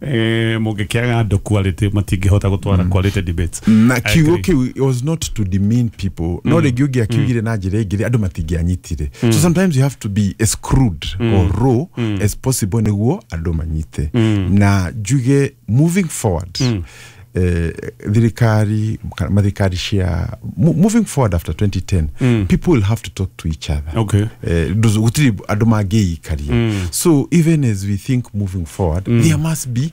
Mũngĩkĩaga andũ quality, matingĩhota gũtwara quality debates. Na I kiugo agree. kĩu, it was not to demean people, no rĩngĩ ũngĩakiugire na njĩra ĩngĩ, andũ matingĩanyitire. So sometimes you have to be as crude or raw as possible nĩguo andũ manyite. Na njuge, moving forward, thirikari kana mathirikari cia moving forward after 2010, people will have to talk to each other. Gũtirĩ andũ mangĩikaria. So even as we think moving forward, there must be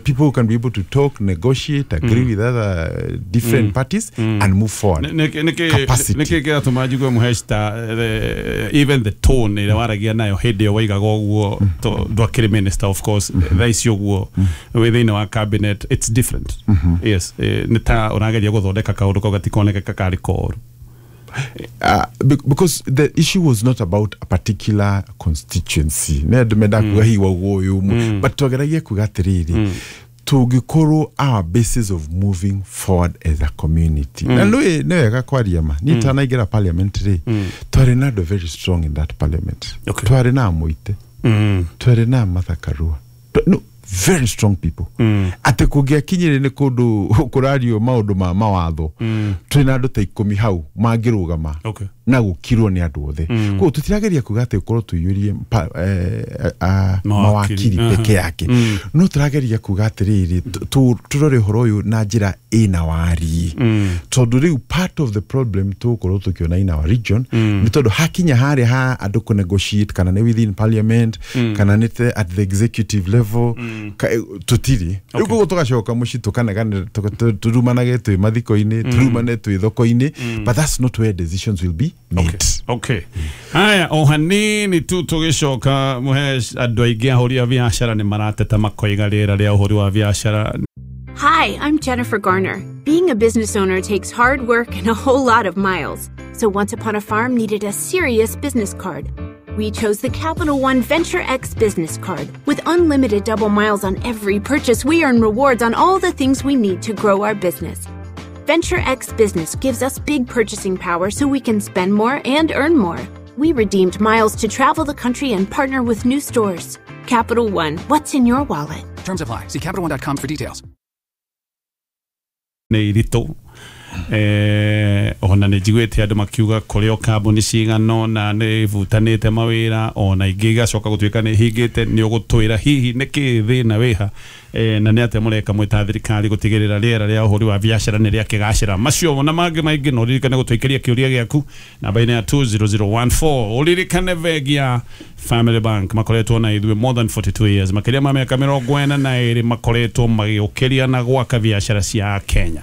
people who can be able to talk, negotiate, agree with other different parties and move forward. Capacity. Nĩkĩ kĩratũma njigue, Mũhecta, even the tone ĩrĩa waragia nayo hĩndĩ ĩyo waigaga ũguo, ndwakĩrĩ minister, of course, thaa ici ũguo wĩ thĩinĩ wa cabinet, it's different. Yes, nĩ ta ũrageria gũthondeka kaũndũ kau gatikoneke kakarĩ koru. Because the issue was not about a particular constituency. Nĩ andũ mendaga kuga hihi waugwo ũyũ ũmwe, but twageragia kuga atĩrĩrĩ, tũngĩkorwo our basis of moving forward as a community. Na nĩ wega kwaria ma niĩ tanaingĩra parliament rĩ, twarĩ na andũ very strong in that parliament. Twarĩ na Mũite, twarĩ na Martha Karua. No, very strong people, atĩ kũngĩakinyire nĩ kũndũ kũrario maũndũ ma mawatho, twĩna andũ ta 10 hau mangĩrũgama na gũkirwo nĩ andũ othe. Koguo tũtirageria kuga atĩ ũkorwo tũiyũrie mawakiri. Mawakiri peke yake, no tũrageria kuga atĩrĩrĩ, tũrore ũhoro ũyũ na njĩra ĩna wariĩ, tondũ rĩu part of the problem tũgũkorwo tũkĩona in our region nĩ tondũ hakinya harĩa ha andũ kũ negotiate, kana nĩ within parliament, kana nĩ at the executive level, tũtirĩ rĩu. Koguo tũgacoka mũciĩ, tũkanegane, tũrumanage twĩ mathiko-inĩ, tũrumane twĩ thoko-inĩ, but that's not where decisions will be made. Okay. Haya, o hanini tu tũgĩcoka, Mũhesh, andũ aingĩ ahũri a biacara nĩ marateta makoiga rĩera rĩa ũhũri wa biacara Hi, I'm Jennifer Garner. Being a business owner takes hard work and a whole lot of miles. So Once Upon a Farm needed a serious business card. We chose the Capital One Venture X business card. With unlimited double miles on every purchase, we earn rewards on all the things we need to grow our business. Venture X Business gives us big purchasing power so we can spend more and earn more. We redeemed miles to travel the country and partner with new stores. Capital One, what's in your wallet? Terms apply. See CapitalOne.com for details. Nĩ iritũ. Ona nĩ njiguĩte andũ makiuga kũrĩ o kambuni cigana ona nĩ ibutanĩte mawĩra, ona ingĩ igacoka gũtuĩka nĩ hingĩte. Nĩ ũgũtwĩra hihi nĩ kĩ thĩna wĩha, na nĩ atĩa mũreka mwĩ thirikari gũtigĩrĩra rĩera rĩa ũhũri wa biacara nĩ rĩakĩgacĩra? Macio na mangĩ maingĩ, no ũririkane gũtũikĩria kĩũria gĩaku namba-inĩ ya 20014. Ũririkane bengi ya Family Bank makoretwo na ithuĩ more than 42 years, makĩria ma mĩaka 42 makoretwo magĩũkĩria na gwaka biacara cia Kenya.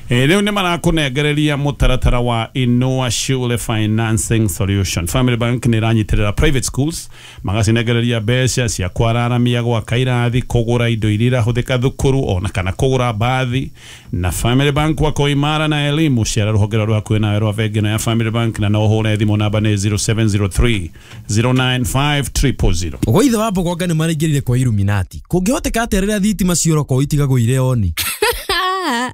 Rĩu nĩ marakũnengereria mũtaratara wa Inua Shule Financing Solution. Family Bank nĩ ĩranyitĩrĩra private schools, magacinengereria mbeca cia kwararamia, gwaka irathi, kũgũra indo iria irahũthĩka thukuru, ona kana kũgũra mbathi. Na Family Bank wako imara na elimu. Ciara rũhonge rwa hakuhĩ nawe rwa bengi ĩno ya Family Bank, na no ũhũre thimũ, namba nĩ 0703 095 000. Gwa ithe wa Mbogonga nĩ maraingĩrire kwa Illuminati. Kũngĩhoteka atĩa rĩrĩa thitima ciora kwao itigagwo irĩ oni?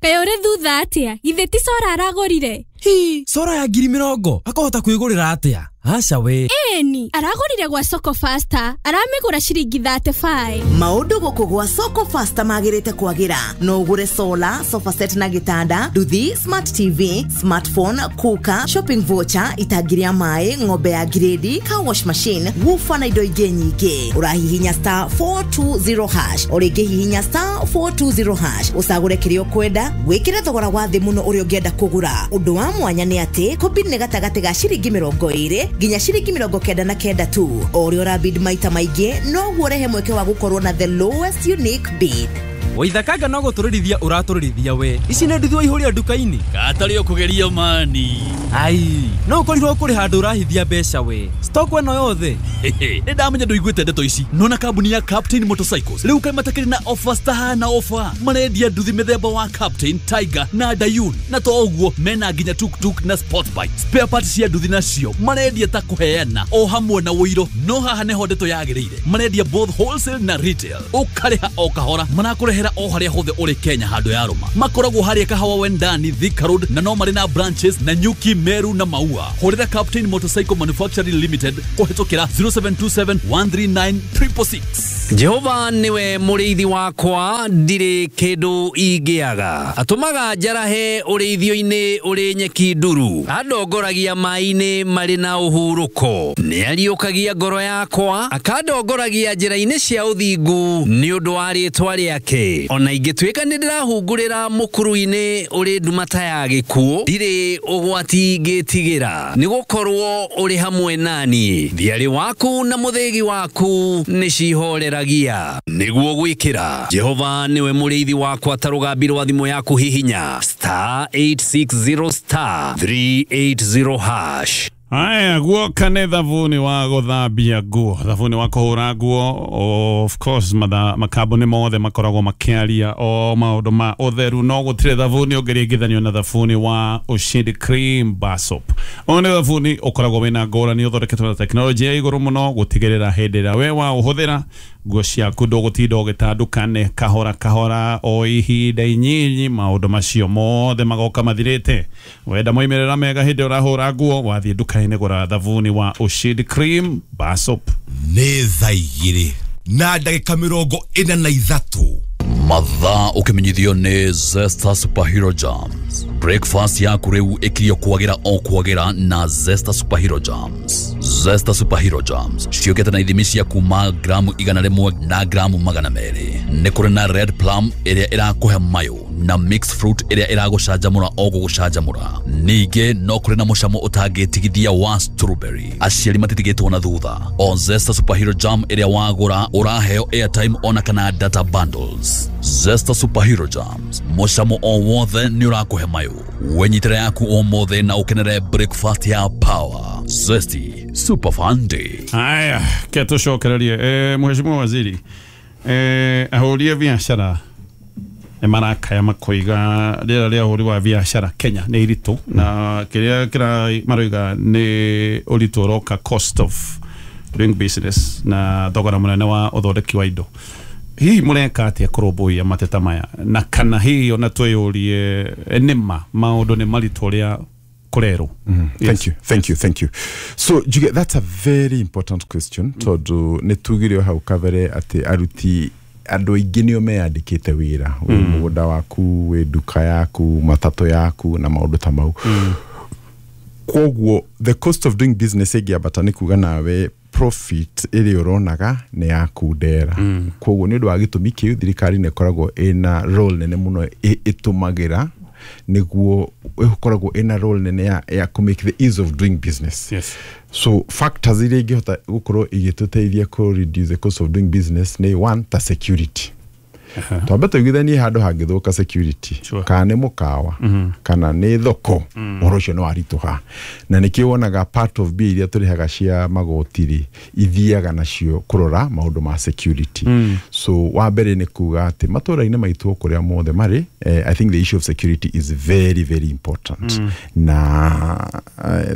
Kaĩ ũrĩ thutha atĩa? Githĩ ti solar aragũrire? Hi, solar ya 20,000 akahota kwĩgũrĩra atĩa? Aca we. Ĩni, aragũrire gwa Soko Fasta, aramĩgũra ciringi 35. Maũndũ gũkũ gwa Soko Fasta magĩrĩte kwagĩra. No ũgũre solar, sofa set na gĩtanda, nduthi, smart TV, smartphone, cooker, shopping voucher, itangi rĩa maĩ, ng'ombe ya grade, car wash machine, woofer na indo ingĩ nyingĩ. Ũrahihinya *420#, o rĩngĩ hihinya *420# ũcagũre kĩrĩa ũkwenda, wĩkĩre thogora wa thĩ mũno ũrĩa ũngĩenda kũgũra. Ũndũ wa mwanya nĩ atĩ kũbid nĩ gatagatĩ ga ciringi 20 nginya ciringi 99 tu. O ũrĩa ũrabid maita maingĩ, noguo ũrehe mweke wa gũkorwo na the lowest unique bid. Waithakanga no gũtũrĩrithia ũratũrĩrithia we. Ici nĩ nduthi waihũria nduka-inĩ. Katarĩ ũkũgeria mani. Ai, no ũkorirwo kũrĩ handũ ũrahithia mbeca we. Stock ĩno yothe. Nĩ ndamenya ndũiguĩte ndeto ici. Nona kambuni ya Captain Motorcycles rĩu kaĩ matakĩrĩ na offers tahana offer. Marendia nduthi mĩthemba wa Captain, Tiger na Dayun, na to ũguo mena nginya tuktuk na sport bike. Spare parts cia nduthi nacio marendia. Marendia ta kũheana o hamwe na ũiro, no haha nĩho ndeto yagĩrĩire. Marendia both wholesale na retail, ũkarĩha o kahora. Marakũrehera o harĩa hothe ũrĩ Kenya handũ ya rũma. Makoragwo harĩa Kahawa Wendani, Thika Road, na no marĩ na branches na Nyuki, Meru na Maua. Hũrĩra Captain Motorcycle Manufacturing Limited kũhĩtũkĩra 0727 139 666. Jehova niwe mũrĩithi wakwa, ndirĩ kĩndũ ingĩaga. Atũmaga njarahe ũrĩithio-inĩ ũrĩ nyeki nduru, andongoragia maĩ-inĩ marĩ na ũhurũko. Nĩariũkagia ngoro yakwa, akandongoragia njĩra-inĩ cia ũthingu nĩ ũndũ wa rĩĩtwa rĩake. Ona ingĩtuĩka nĩ ndĩrahungurĩra mũkuru-inĩ ũrĩ nduma ta ya gĩkuũ, ndirĩ ũgwati ingĩtigĩra, nĩgũkorwo ũrĩ hamwe nani. Thiarĩ waku na mũthĩgi waku nĩcihoreragia. Nĩguo gwĩkĩra Jehova niwe mũrĩithi wakwa, ta rũgambi rwa thimũ yaku hihinya *860 *380#. Aya, guoka nĩ thabuni wa gũthambia nguo, thabuni wa kũhũra nguo. Of course makambuni mothe makoragwo makĩaria o maũndũ ma ũtheru, no gũtirĩ thabuni ũngĩringithanio na thabuni wa Ushindi Cream Bar Soap. Ũyũ nĩ thabuni ũkoragwo wĩna ngũrani, ũthondeketwo na tekinoronjĩ ya igũrũ mũno, gũtigĩrĩra hĩndĩ ĩrĩa we waũhũthĩra nguo ciaku ndũgũtinda ũgĩtandũkane kahora kahora o ihinda inyinyi, maũndũ macio mothe magoka mathirĩte. Wenda moimĩrĩra mega hĩndĩ ũrahũra nguo, wathiĩ nduka-inĩ gũra thabuni wa Ushindi Cream Bar Soap. Nĩ thaa 2:43. Mathaa ũkĩmenyithio nĩ Zesta Superhero Jams. Breakfast yaku rĩu ĩkirio kwagĩra o kwagĩra na Zesta Superhero Jams. Zesta Superhero Jams ciũkĩte na ithimi cia kuma gramu 100 na gramu 200. Nĩ kũrĩ na red plum ĩrĩa ĩrakũhe mayũ na mixed fruit ĩrĩa ĩragũcanjamũra o gũgũcanjamũra. Ningĩ no kũrĩ na mũcamo ũtangĩtigithia wa strawberry. Aciari matitigĩtwo na thutha. O Zesta Superhero Jam ĩrĩa wagũra ũraheo airtime ona kana data bundles. Zesta Superhero Jams, mũcamo o wothe nĩ ũrakũhe mayũ. Wenyitĩra yaku ũmũthĩ na ũkenere breakfast ya power. Zesty Super Fun Day. Aya, ke tũcokererie. Mheshimiwa Waziri, ahũri a biacara nĩ marakaya makoiga rĩera rĩa ũhũri wa biacara Kenya nĩ iritũ, na kĩrĩa kĩra maroiga nĩ ũritũ ũroka cost of doing business na thogora mũnene wa ũthondeki wa indo. Hihi mũreka atĩa kũrũmbũiya mateta maya, na kana hihi ona twĩyũrie nĩma maũndũ nĩ maritũ ũrĩa kũrerwo? Thank you, thank you, thank you. So Juge, that's a very important question, tondũ nĩ tugire o hau kabere atĩ aruti andũ aingĩ nĩo meyandĩkĩte wĩra, wĩ mũgũnda waku, wĩ nduka yaku, matatũ yaku na maũndũ ta mau. Kwoguo the cost of doing business ĩngĩambata nĩ kuga nawe profit ĩrĩa ũronaga nĩ yakundera. Kwoguo nĩ ũndũ wa gĩtũmi kĩu thirikari nĩ ĩkoragwo ĩna role nene mũno ĩtũmagĩra nĩguo ĩkoragwo ĩna role nene ya kũ make the ease of doing business. Yes. So factors iria ingĩhota gũkorwo igĩtũteithia kũ reduce the cost of doing business nĩ one, ta security. Twambe tũiguithanie handũ hangĩthũka security, kana nĩ mũkawa, kana nĩ thoko, ũhoro ũcio nĩ waritũha. Na nĩkĩo wonaga part of mbia iria tũrĩhaga cia magoti rĩ, ithiaga nacio kũrora maũndũ ma security. So wa mbere nĩ kuga atĩ matũra-inĩ maitũ kũrĩa mothe marĩ, I think the issue of security is very very important. Na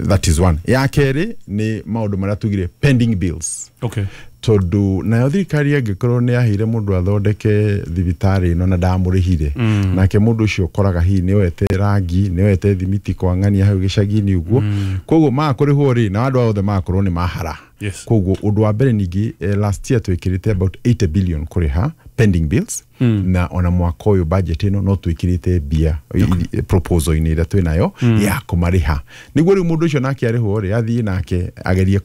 that is one. Ya kerĩ nĩ maũndũ marĩa tugire pending bills. Okay. Tondũ nayo thirikari angĩkorwo nĩ yaheire mũndũ athondeke thibitarĩ ĩno na ndamũrĩhire, nake mũndũ ũcio ũkoraga hihi nĩ oete rangi, nĩ oete thimiti kwang'ania hau gĩcagi-inĩ ũguo, koguo makũrĩhwo rĩ, na andũ othe magakorwo nĩ mahara. Yes. Koguo ũndũ wa mbere ningĩ, last year twĩkĩrĩte about 80 billion kũrĩha pending bills, na ona mwaka ũyũ budget ĩno no twĩkĩrĩte mbia proposal-inĩ ĩrĩa twĩnayo ya kũmarĩha, nĩguo rĩu mũndũ ũcio nake arĩhwo rĩ, athiĩ nake agerie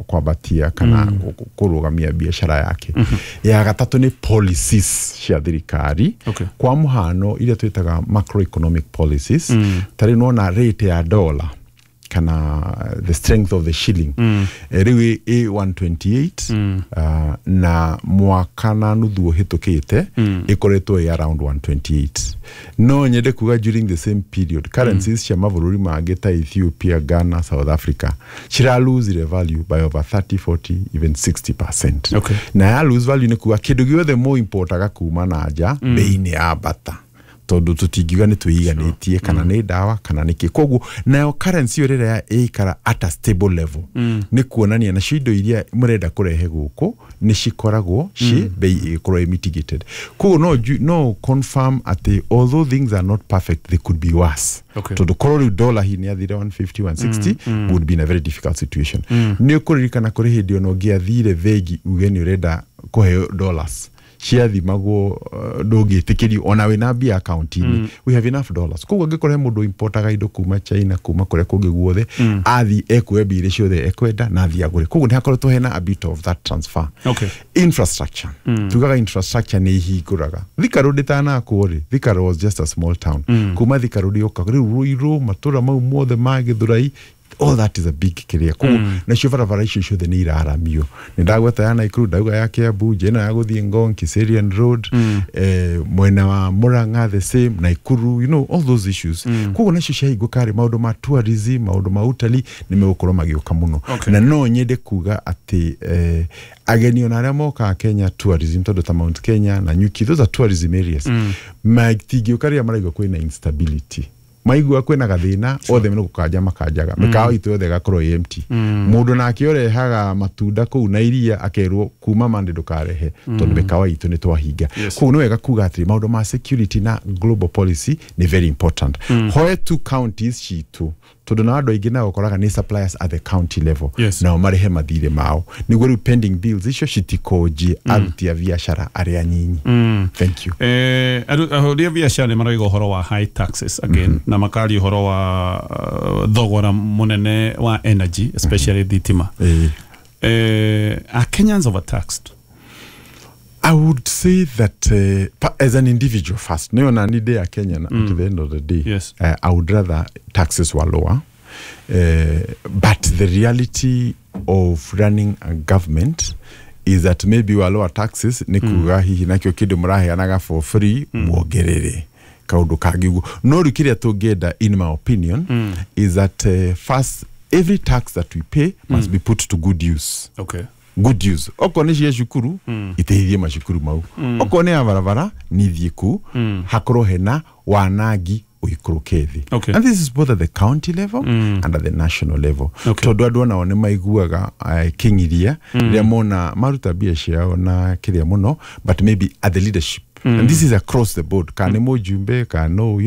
kwambatia kana kũrũgamia biacara yake. Ya gatatũ nĩ policies cia thirikari. Kwa mũhano iria twĩtaga macroeconomic policies, ta rĩu nĩwona rate ya dollar kana the strength of the shilling rĩu ĩ 128, na mwaka na nuthu ũhĩtũkĩte ĩkoretwo ĩ around 128. No nyende kuga during the same period currencies cia mabũrũri mangĩ ta Ethiopia, Ghana, South Africa cira lose their value by over 30, 40, even 60%. Okay. Na ya lose value nĩ kuga kĩndũ gĩothe mũ importaga kuma na nja bei nĩ yambata. Tondu tutingiuga nĩ twĩiganĩtie kana nĩ ndawa kana nĩ kĩ. Koguo nayo currency ĩyo rĩrĩa ĩikara at a stable level, nĩ kuonania nacio indo iria mũrenda kũrehe gũkũ nĩ cikoragwo ci bei ĩgĩkorwo ĩ mitigated. Koguo no confirm atĩ although things are not perfect, they could be worse. Tondũ korwo rĩu dollar hihi nĩ athire 150, 160, would be in a very difficult situation. Nĩ ũkũririkana kũrĩ hĩndĩ ona ũngĩathire bengi uge nĩ ũrenda kũheo dollars, ciathimagwo, ndũngĩtĩkĩrio ona wĩna mbia akaunti-inĩ. We have enough dollars. Koguo angĩkorwo he mũndũ importaga indo kuma China, kuma kũrĩa kũngĩ guothe, athi ekuoya mbia iria ciothe ekwenda na athi agũre. Koguo nĩ hakoretwo hena a bit of that transfer. Infrastructure, tugaga infrastructure nĩ ihingũraga. Thika Road ĩtanakwo rĩ, Thika Road was just a small town. Kuma Thika Road yoka rĩu Ruiru, matũra mau mothe ma Gĩthũrai, all that is a big kĩrĩa. Koguo nacio barabara icio ciothe nĩ iraramio. Nĩ ndagweta ya Nakuru, ndauga ya Kiambu, njĩra ya gũthiĩ Ngong, Kiserian Road, mwena wa Murang'a the same, Nakuru, all those issues. Koguo nacio ciahingũka rĩ, maũndũ ma tourism, maũndũ ma utalii nĩ megũkorwo magĩũka mũno. Na no nyende kuga atĩ ageni ona arĩa mokaga Kenya tourism, tondũ ta Mount Kenya na Nyuki, those are tourism areas, matingĩũka rĩrĩa maraigua kwĩna instability, maigua kwĩna gathĩna, othe nĩ gũkanja makanjaga, mĩkawa itũ yothe ĩgakorwo ĩ empty. Mũndũ nake ũrehaga matunda kũu na iria akerwo kuma Monday ndũkarehe, tondũ mĩkawa itũ nĩ twahinga. Koguo nĩ wega kuga atĩrĩ, maũndũ ma security na global policy nĩ very important. Hoe two counties citũ, tondũ na andũ aingĩ nao ũkoraga nĩ suppliers at the county level, nao marĩhe mathirĩ mao nĩguo rĩu pending bills icio citikonjie aruti a biacara arĩa anyinyi. Thank you. Ahũri a biacara nĩ maroiga ũhoro wa high taxes again, na makaria ũhoro wa thogora mũnene wa energy, especially thitima. Are Kenyans overtaxed? I would say that as an individual first, no, na ni day a Kenyan at the end of the day, I would rather taxes were lower. But the reality of running a government is that maybe wa lower taxes nĩ kuga hihi nakĩo kĩndũ mũraheanaga for free muongerere kaũndũ kangĩ ũguo. No rĩu kĩrĩa tũngĩenda, in my opinion, is that first, every tax that we pay must be put to good use. Good use. Okorwo nĩ cia cukuru, iteithie macukuru mau. Okorwo nĩ ya barabara, nĩ ithiĩ kuu. Hakorwo hena wanangi ũikũrũke thĩ. And this is both at the county level and at the national level. Tondũ andũ onao nĩ maiguaga kĩng'iria rĩrĩa mona maruta mbia ciao na kĩrĩa mũno, but maybe at the leadership, and this is across the board, kana nĩ mũjumbe kana no,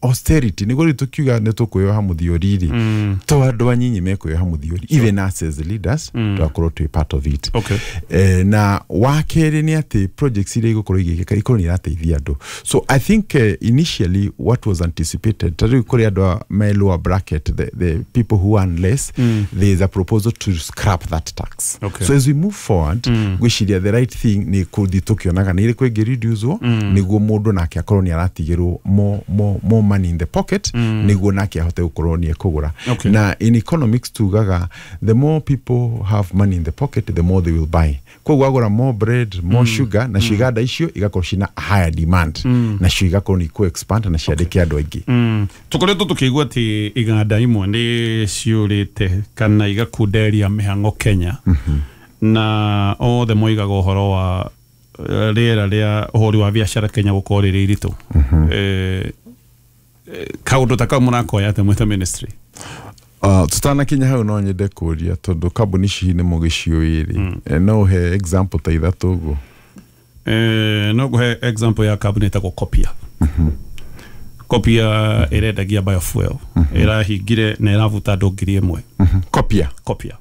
austerity nĩguo rĩu tũkiuga nĩ tũkwĩyoha mũthiori rĩ, to andũ anyinyi mekwĩyoha mũthiori, even us as the leaders tũgakorwo twĩ part of it. Na wa kerĩ nĩ atĩ projects iria igũkorwo igĩkĩka ikorwo nĩ irateithia andũ. So I think initially what was anticipated, ta rĩu kũrĩ andũ a me lower bracket, the people who earn less, there is a proposal to scrap that tax. So as we move forward, ngwĩciria the right thing nĩ kũthiĩ tũkĩonaga nĩ ĩrĩkũ ĩngĩ reduce-wo, nĩguo mũndũ nake akorwo nĩ aratigĩrwo more money in the pocket, nĩguo nake ahote gũkorwo nĩ ekũgũra. Na in economics tugaga the more people have money in the pocket, the more they will buy. Koguo agũra more bread, more sugar, na iganda icio igakorwo cina higher demand, nacio igakorwo nĩ ikũ expand na ciandĩke andũ aingĩ. Tũkoretwo tũkĩigua atĩ iganda imwe nĩ ciũrĩte kana igakunderia mĩhang'o Kenya, na othe moigaga ũhoro wa rĩera rĩa ũhũri wa biacara Kenya gũkorwo rĩrĩ iritũ. Kaũndũ ta kau mũrakoya atĩa mwĩ ta ministry? Tutanakinya hau no nyende kũria, tondũ kambuni ici nĩ mũgĩciũĩ rĩ, no ũhe example ta ithatũ ũguo? No ngũhe example ya kambuni ĩtagwo Copia. Copia ĩrendagia biofuel, ĩrahingire na ĩrabuta andũ 1,000. Copia. Copia.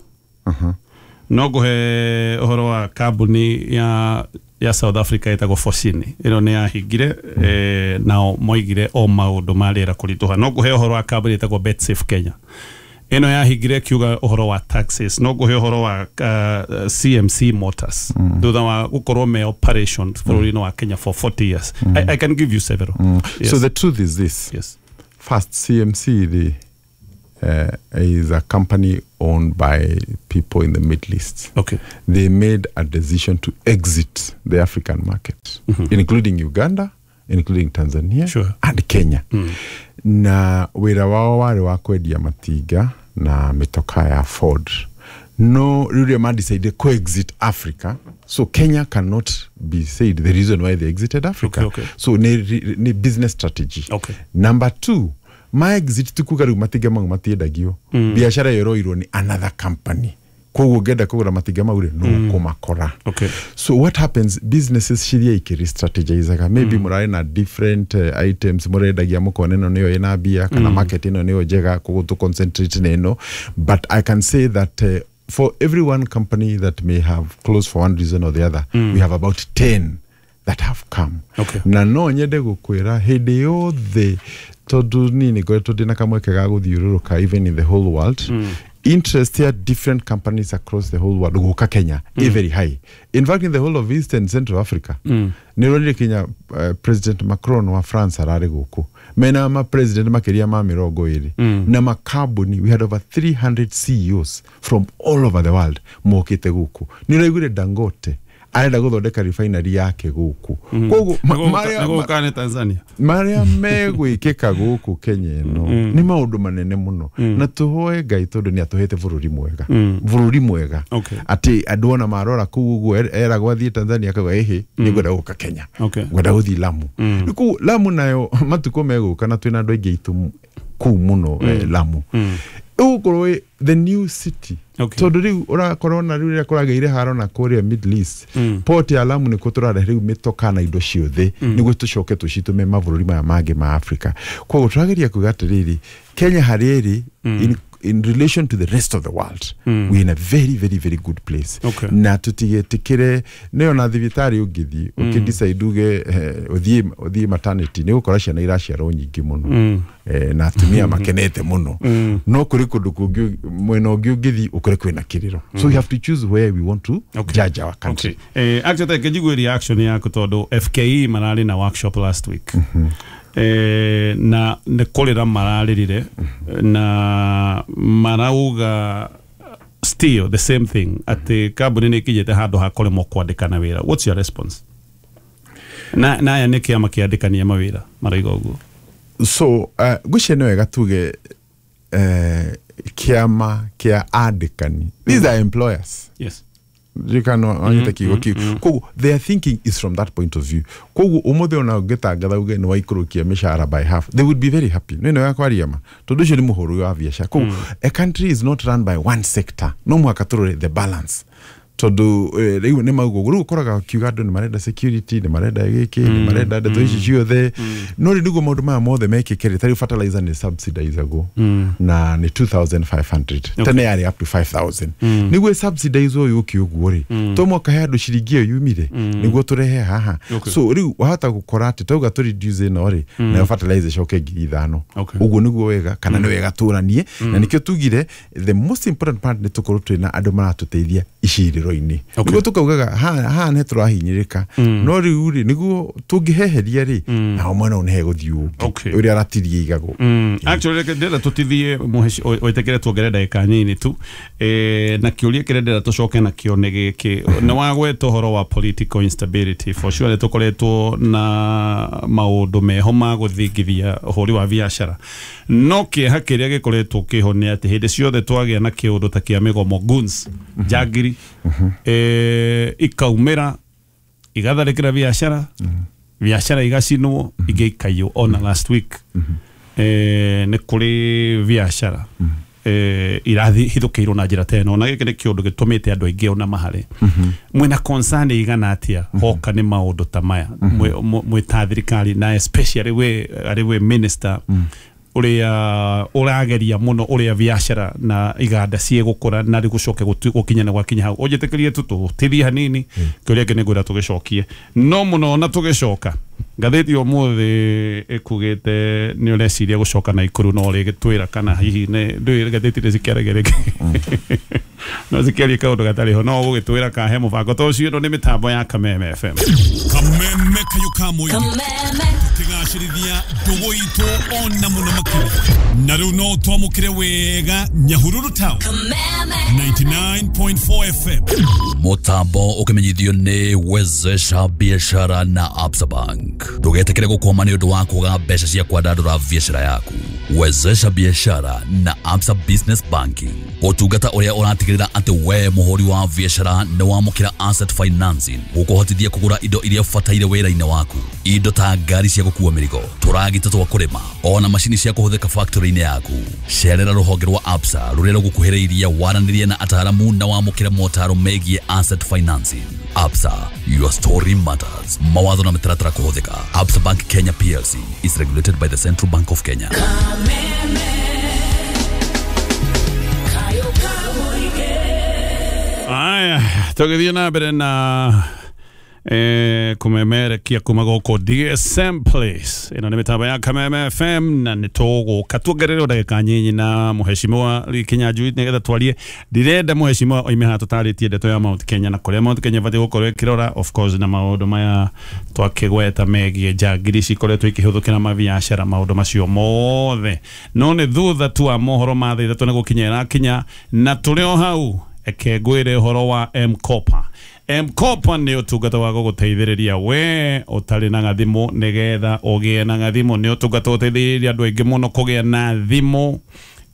No ngũhe ũhoro wa kambuni ya South Africa ĩtagwo Fossini, ĩno nĩ yahingire, nao moigire o maũndũ ma rĩera kũritũha. No ngũhe ũhoro wa kambuni ĩtagwo Betsafe Kenya, ĩno yahingire kiuga ũhoro wa taxes. No ngũhe ũhoro wa CMC Motors, thutha wa gũkorwo me operation bũrũri-inĩ wa Kenya for 40 years. I can give you several. Yes. So the truth is this. First, CMC is a company owned by people in the Middle East. They made a decision to exit the African market, including Uganda, including Tanzania, and Kenya. Na wĩra wao warĩ wa kwendia matinga na mĩtoka ya Ford. No rĩrĩa ma decide co-exit Africa, so Kenya cannot be said the reason why they exited Africa. So ni business strategy. Number two, ma exit tukuga rĩu matinga mau matiendagio. Biacara ĩyo ĩroirwo nĩ another company, koguo ũngĩenda kũgũra matinga mau rĩ, no kũmakora. So what happens, businesses ciria ikĩre-strategizaga, maybe mũrarĩ na different items mũrendagia, mũkona ĩno nĩyo ĩna mbia kana market ĩno nĩyo njega, koguo tũ concentrate na ĩno. But I can say that for every one company that may have closed for one reason or the other, we have about 10 that have come. Na no nyende gũkwĩra hĩndĩ yothe, tondũ niĩ nĩ ngoretwo ndĩna kamweke ga gũthiũrũrũka even in the whole world, interest ya different companies across the whole world gũka Kenya is very high. In fact, in the whole of East and Central Africa, nĩ ũronire kinya President Macron wa France ararĩ gũkũ, mena ma president makĩria ma 20 na makambuni. We had over 300 CEOs from all over the world mokĩte gũkũ. Nĩ ũraiguire Dangote arenda gũthondeka refinery yake gũkũ. Koguo Nĩgũka nĩ Tanzania. Marĩa megwĩkĩka gũkũ Kenya ĩno nĩ maũndũ manene mũno, na tũhoe Ngai tondũ nĩ atũhete bũrũri mwega, bũrũri mwega atĩ andũ ona marora kũu ũguo eragwo athiĩ Tanzania akauga, "Ĩhĩ, nĩ ngwenda gũka Kenya, ngwenda gũthiĩ Lamu." Rĩu kũu Lamu nayo matukũ megũka na twĩna andũ aingĩ aitũ kũu mũno, Lamu ĩgũkorwo the new city, tondũ rĩu ũrakorwo na rĩu rĩrĩa kũragĩire haro na kũrĩa Middle East, port ya Lamu nĩkuo tũrarehe rĩu mĩtoka na indo ciothe nĩguo tũcoke tũcitũme mabũrũri maya mangĩ ma Africa. Koguo tũrageria kuga atĩrĩrĩ, Kenya harĩa ĩrĩ in relation to the rest of the world, we're in a very, very, very good place. Na tũtigetĩkĩre nĩyo na thibitarĩ ũngĩthiĩ ũkĩdecide uge ũthiĩ maternity, nĩ ũgũkora ciana iraciarwo nyingĩ mũno na atumia makenete mũno, no kũrĩ kũndũ kũngĩ mwena ũngĩ ũngĩthiĩ ũkore kwĩna kĩrĩro. So we have to choose where we want to judge our country. Okay. Actually reke njigue reaction yaku tondũ FKE mararĩ na workshop last week, na nĩ kũrĩra mararĩrire na marauga still the same thing, atĩ kambuni nĩ ikinyĩte handũ ha kũremwo kwandĩkana wĩra. What's your response? Na aya nĩ kĩama kĩandĩkania mawĩra marauga ũguo. So ngwĩciria nĩ wega tuge kĩama kĩa andĩkani, these are employers. Ririkana wanyita kiugo kiu. Koguo their thinking is from that point of view. Koguo ũmũthĩ ona ũngĩtangatha uge nĩ waikũrũkia mĩcara by half, they would be very happy. No ĩno ya kwaria ma, tondũ ũcio nĩ mũhũrũ wa biacara. Koguo a country is not run by one sector, no mũhaka tũrore the balance, tondũ rĩu nĩ maugo rĩu ũkoraga ũkiuga andũ nĩ marenda security, nĩ marenda gĩkĩ, nĩ marenda ndeto ici ciothe, no rĩu nĩguo maũndũ maya mothe mekĩke rĩ, ta rĩu fertilizer nĩ subsidizagwo na nĩ 2500, tene yarĩ up to 5000. Nĩguo subsidize ũyũ ũkĩ ũguo rĩ, to mwaka he andũ ciringi ĩyo yumire nĩguo tũrehe haha. So rĩu wahota gũkora atĩ tauga tũ reduce ĩno rĩ, nayo fertilizer ĩcoke 5000. Ũguo nĩguo wega kana nĩ wega tũranie, na nĩkĩo tugire the most important part nĩ tũkorwo twĩna andũ maratũteithia icirĩro-inĩ, nĩguo tũkaugaga haha nĩ tũrahinyĩrĩka, no rĩu rĩ, nĩguo tũngĩheheria rĩ, nao mwena ũyũ nĩ hegũthiĩ ũngĩ ũrĩa aratirie igagwo. Actually, reke ndĩrenda tũtithie wĩtĩkĩre tuongerere ndagĩka nini tu, na kĩũria kĩrĩa ndĩrenda tũcoke nakĩo nĩ gĩkĩ. Nĩ wagweta ũhoro wa political instability. For sure nĩ tũkoretwo na maũndũ meho ma gũthingithia ũhũri wa biacara, no kĩeha kĩrĩa gĩkoretwo kĩho nĩ atĩ hĩndĩ ciothe twagĩa na kĩũndũ ta kĩa mĩgomo, goons, njangiri, ikaumĩra igatharĩkĩra biacara, biacara igacinwo, ingĩ ikaiywo. Ona last week nĩ kũrĩ biacara irathithũkĩirwo na njĩra ta ĩno, na gĩkĩ nĩ kĩũndũ gĩtũmĩte andũ aingĩ ona mahare. Mwĩna concern igana atĩa hoka nĩ maũndũ ta maya mwĩ ta thirikari, na especially we arĩ we minister ũrĩa ũrageria mũno ũrĩa biacara na iganda ciĩgũkũra na rĩu gũcoke gũkinya na gwakinya hau? Ũnjĩtĩkĩrie tu tũtithie hanini, kĩũria kĩ nĩngwĩra tũgĩcokie no mũno, na tũgĩcoka ngathĩti ũmũthĩ ĩkugĩte nĩ ũreciria gũcoka na ikuru, no rĩgĩtwĩra kana hihi nĩ ndũĩ ngathĩti nĩ cikĩaragia rĩngĩ, no cikĩarie kaũndũ gatarĩ ho, no ũgũgĩtwĩra kahe mũbango ta ũcio. Ĩno nĩ mĩtambo ya Kameme FM. Kameme kayo ka mũingĩ tũkĩgacĩrithia ndũgũ itũ ona mũno makĩria, na rĩu no twamũkĩre wega Nyahururu Town 99.4 FM. Mutambo ukimenyithio nĩ Wezesha Biashara na Absa Bank. Ndũgetĩkĩre gũkwama nĩ ũndũ wa kwaga mbeca cia kwandandũra biacara yaku. Wezesha biashara na Absa Business Banking. Ũtungata ũrĩa ũratigĩrĩra atĩ we mũhũri wa biacara nĩ wamũkĩra asset financing gũkũhotithia kũgũra indo iria ũbataire wĩra-inĩ waku, indo ta ngari cia gũkua mĩrigo, tũragita twa kũrĩma, ona macini cia kũhũthĩka factory-inĩ yaku. Cerera rũhonge rwa Absa rũrĩa rũgũkuhĩrĩirie, waranĩrie na ataaramu na wamũkĩre motaro megiĩ asset financing. Absa, your story matters. Mawatho na mĩtaratara kũhũthĩka. Absa Bank Kenya PLC is regulated by the Central Bank of Kenya. Aya, tũgĩthiĩ na mbere na kũmemerekia kuma gũkũ DSM Place. Ĩno nĩ mĩtambo ya Kameme FM na nĩ tũgũka tuongererwo ndagĩka nyinyi na mũheshimiwa Lee Kinyanjui nĩgetha twarie. Ndirenda mũheshimiwa oime haha tũtarĩtie ndeto ya Mount Kenya na kũrĩa Mount Kenya ĩbatiĩ gũkorwo ĩkĩrora, of course, na maũndũ maya twakĩgweta megiĩ njangiri cikoretwo ikĩhũthũkĩra mabiacara, maũndũ macio mothe. No nĩ thutha tu wa mohoro ma thaa 3 nĩ gũkinya ĩrakinya, na tũrĩ o hau eke ngwĩre ũhoro wa M-Kopa. M-Kopa nĩ ũtungata wa gũgũteithĩrĩria we ũtarĩ na gathimũ nĩgetha ũgĩe na gathimũ. Nĩ ũtungata ũteithĩrĩria andũ aingĩ mũno kũgĩa na thimũ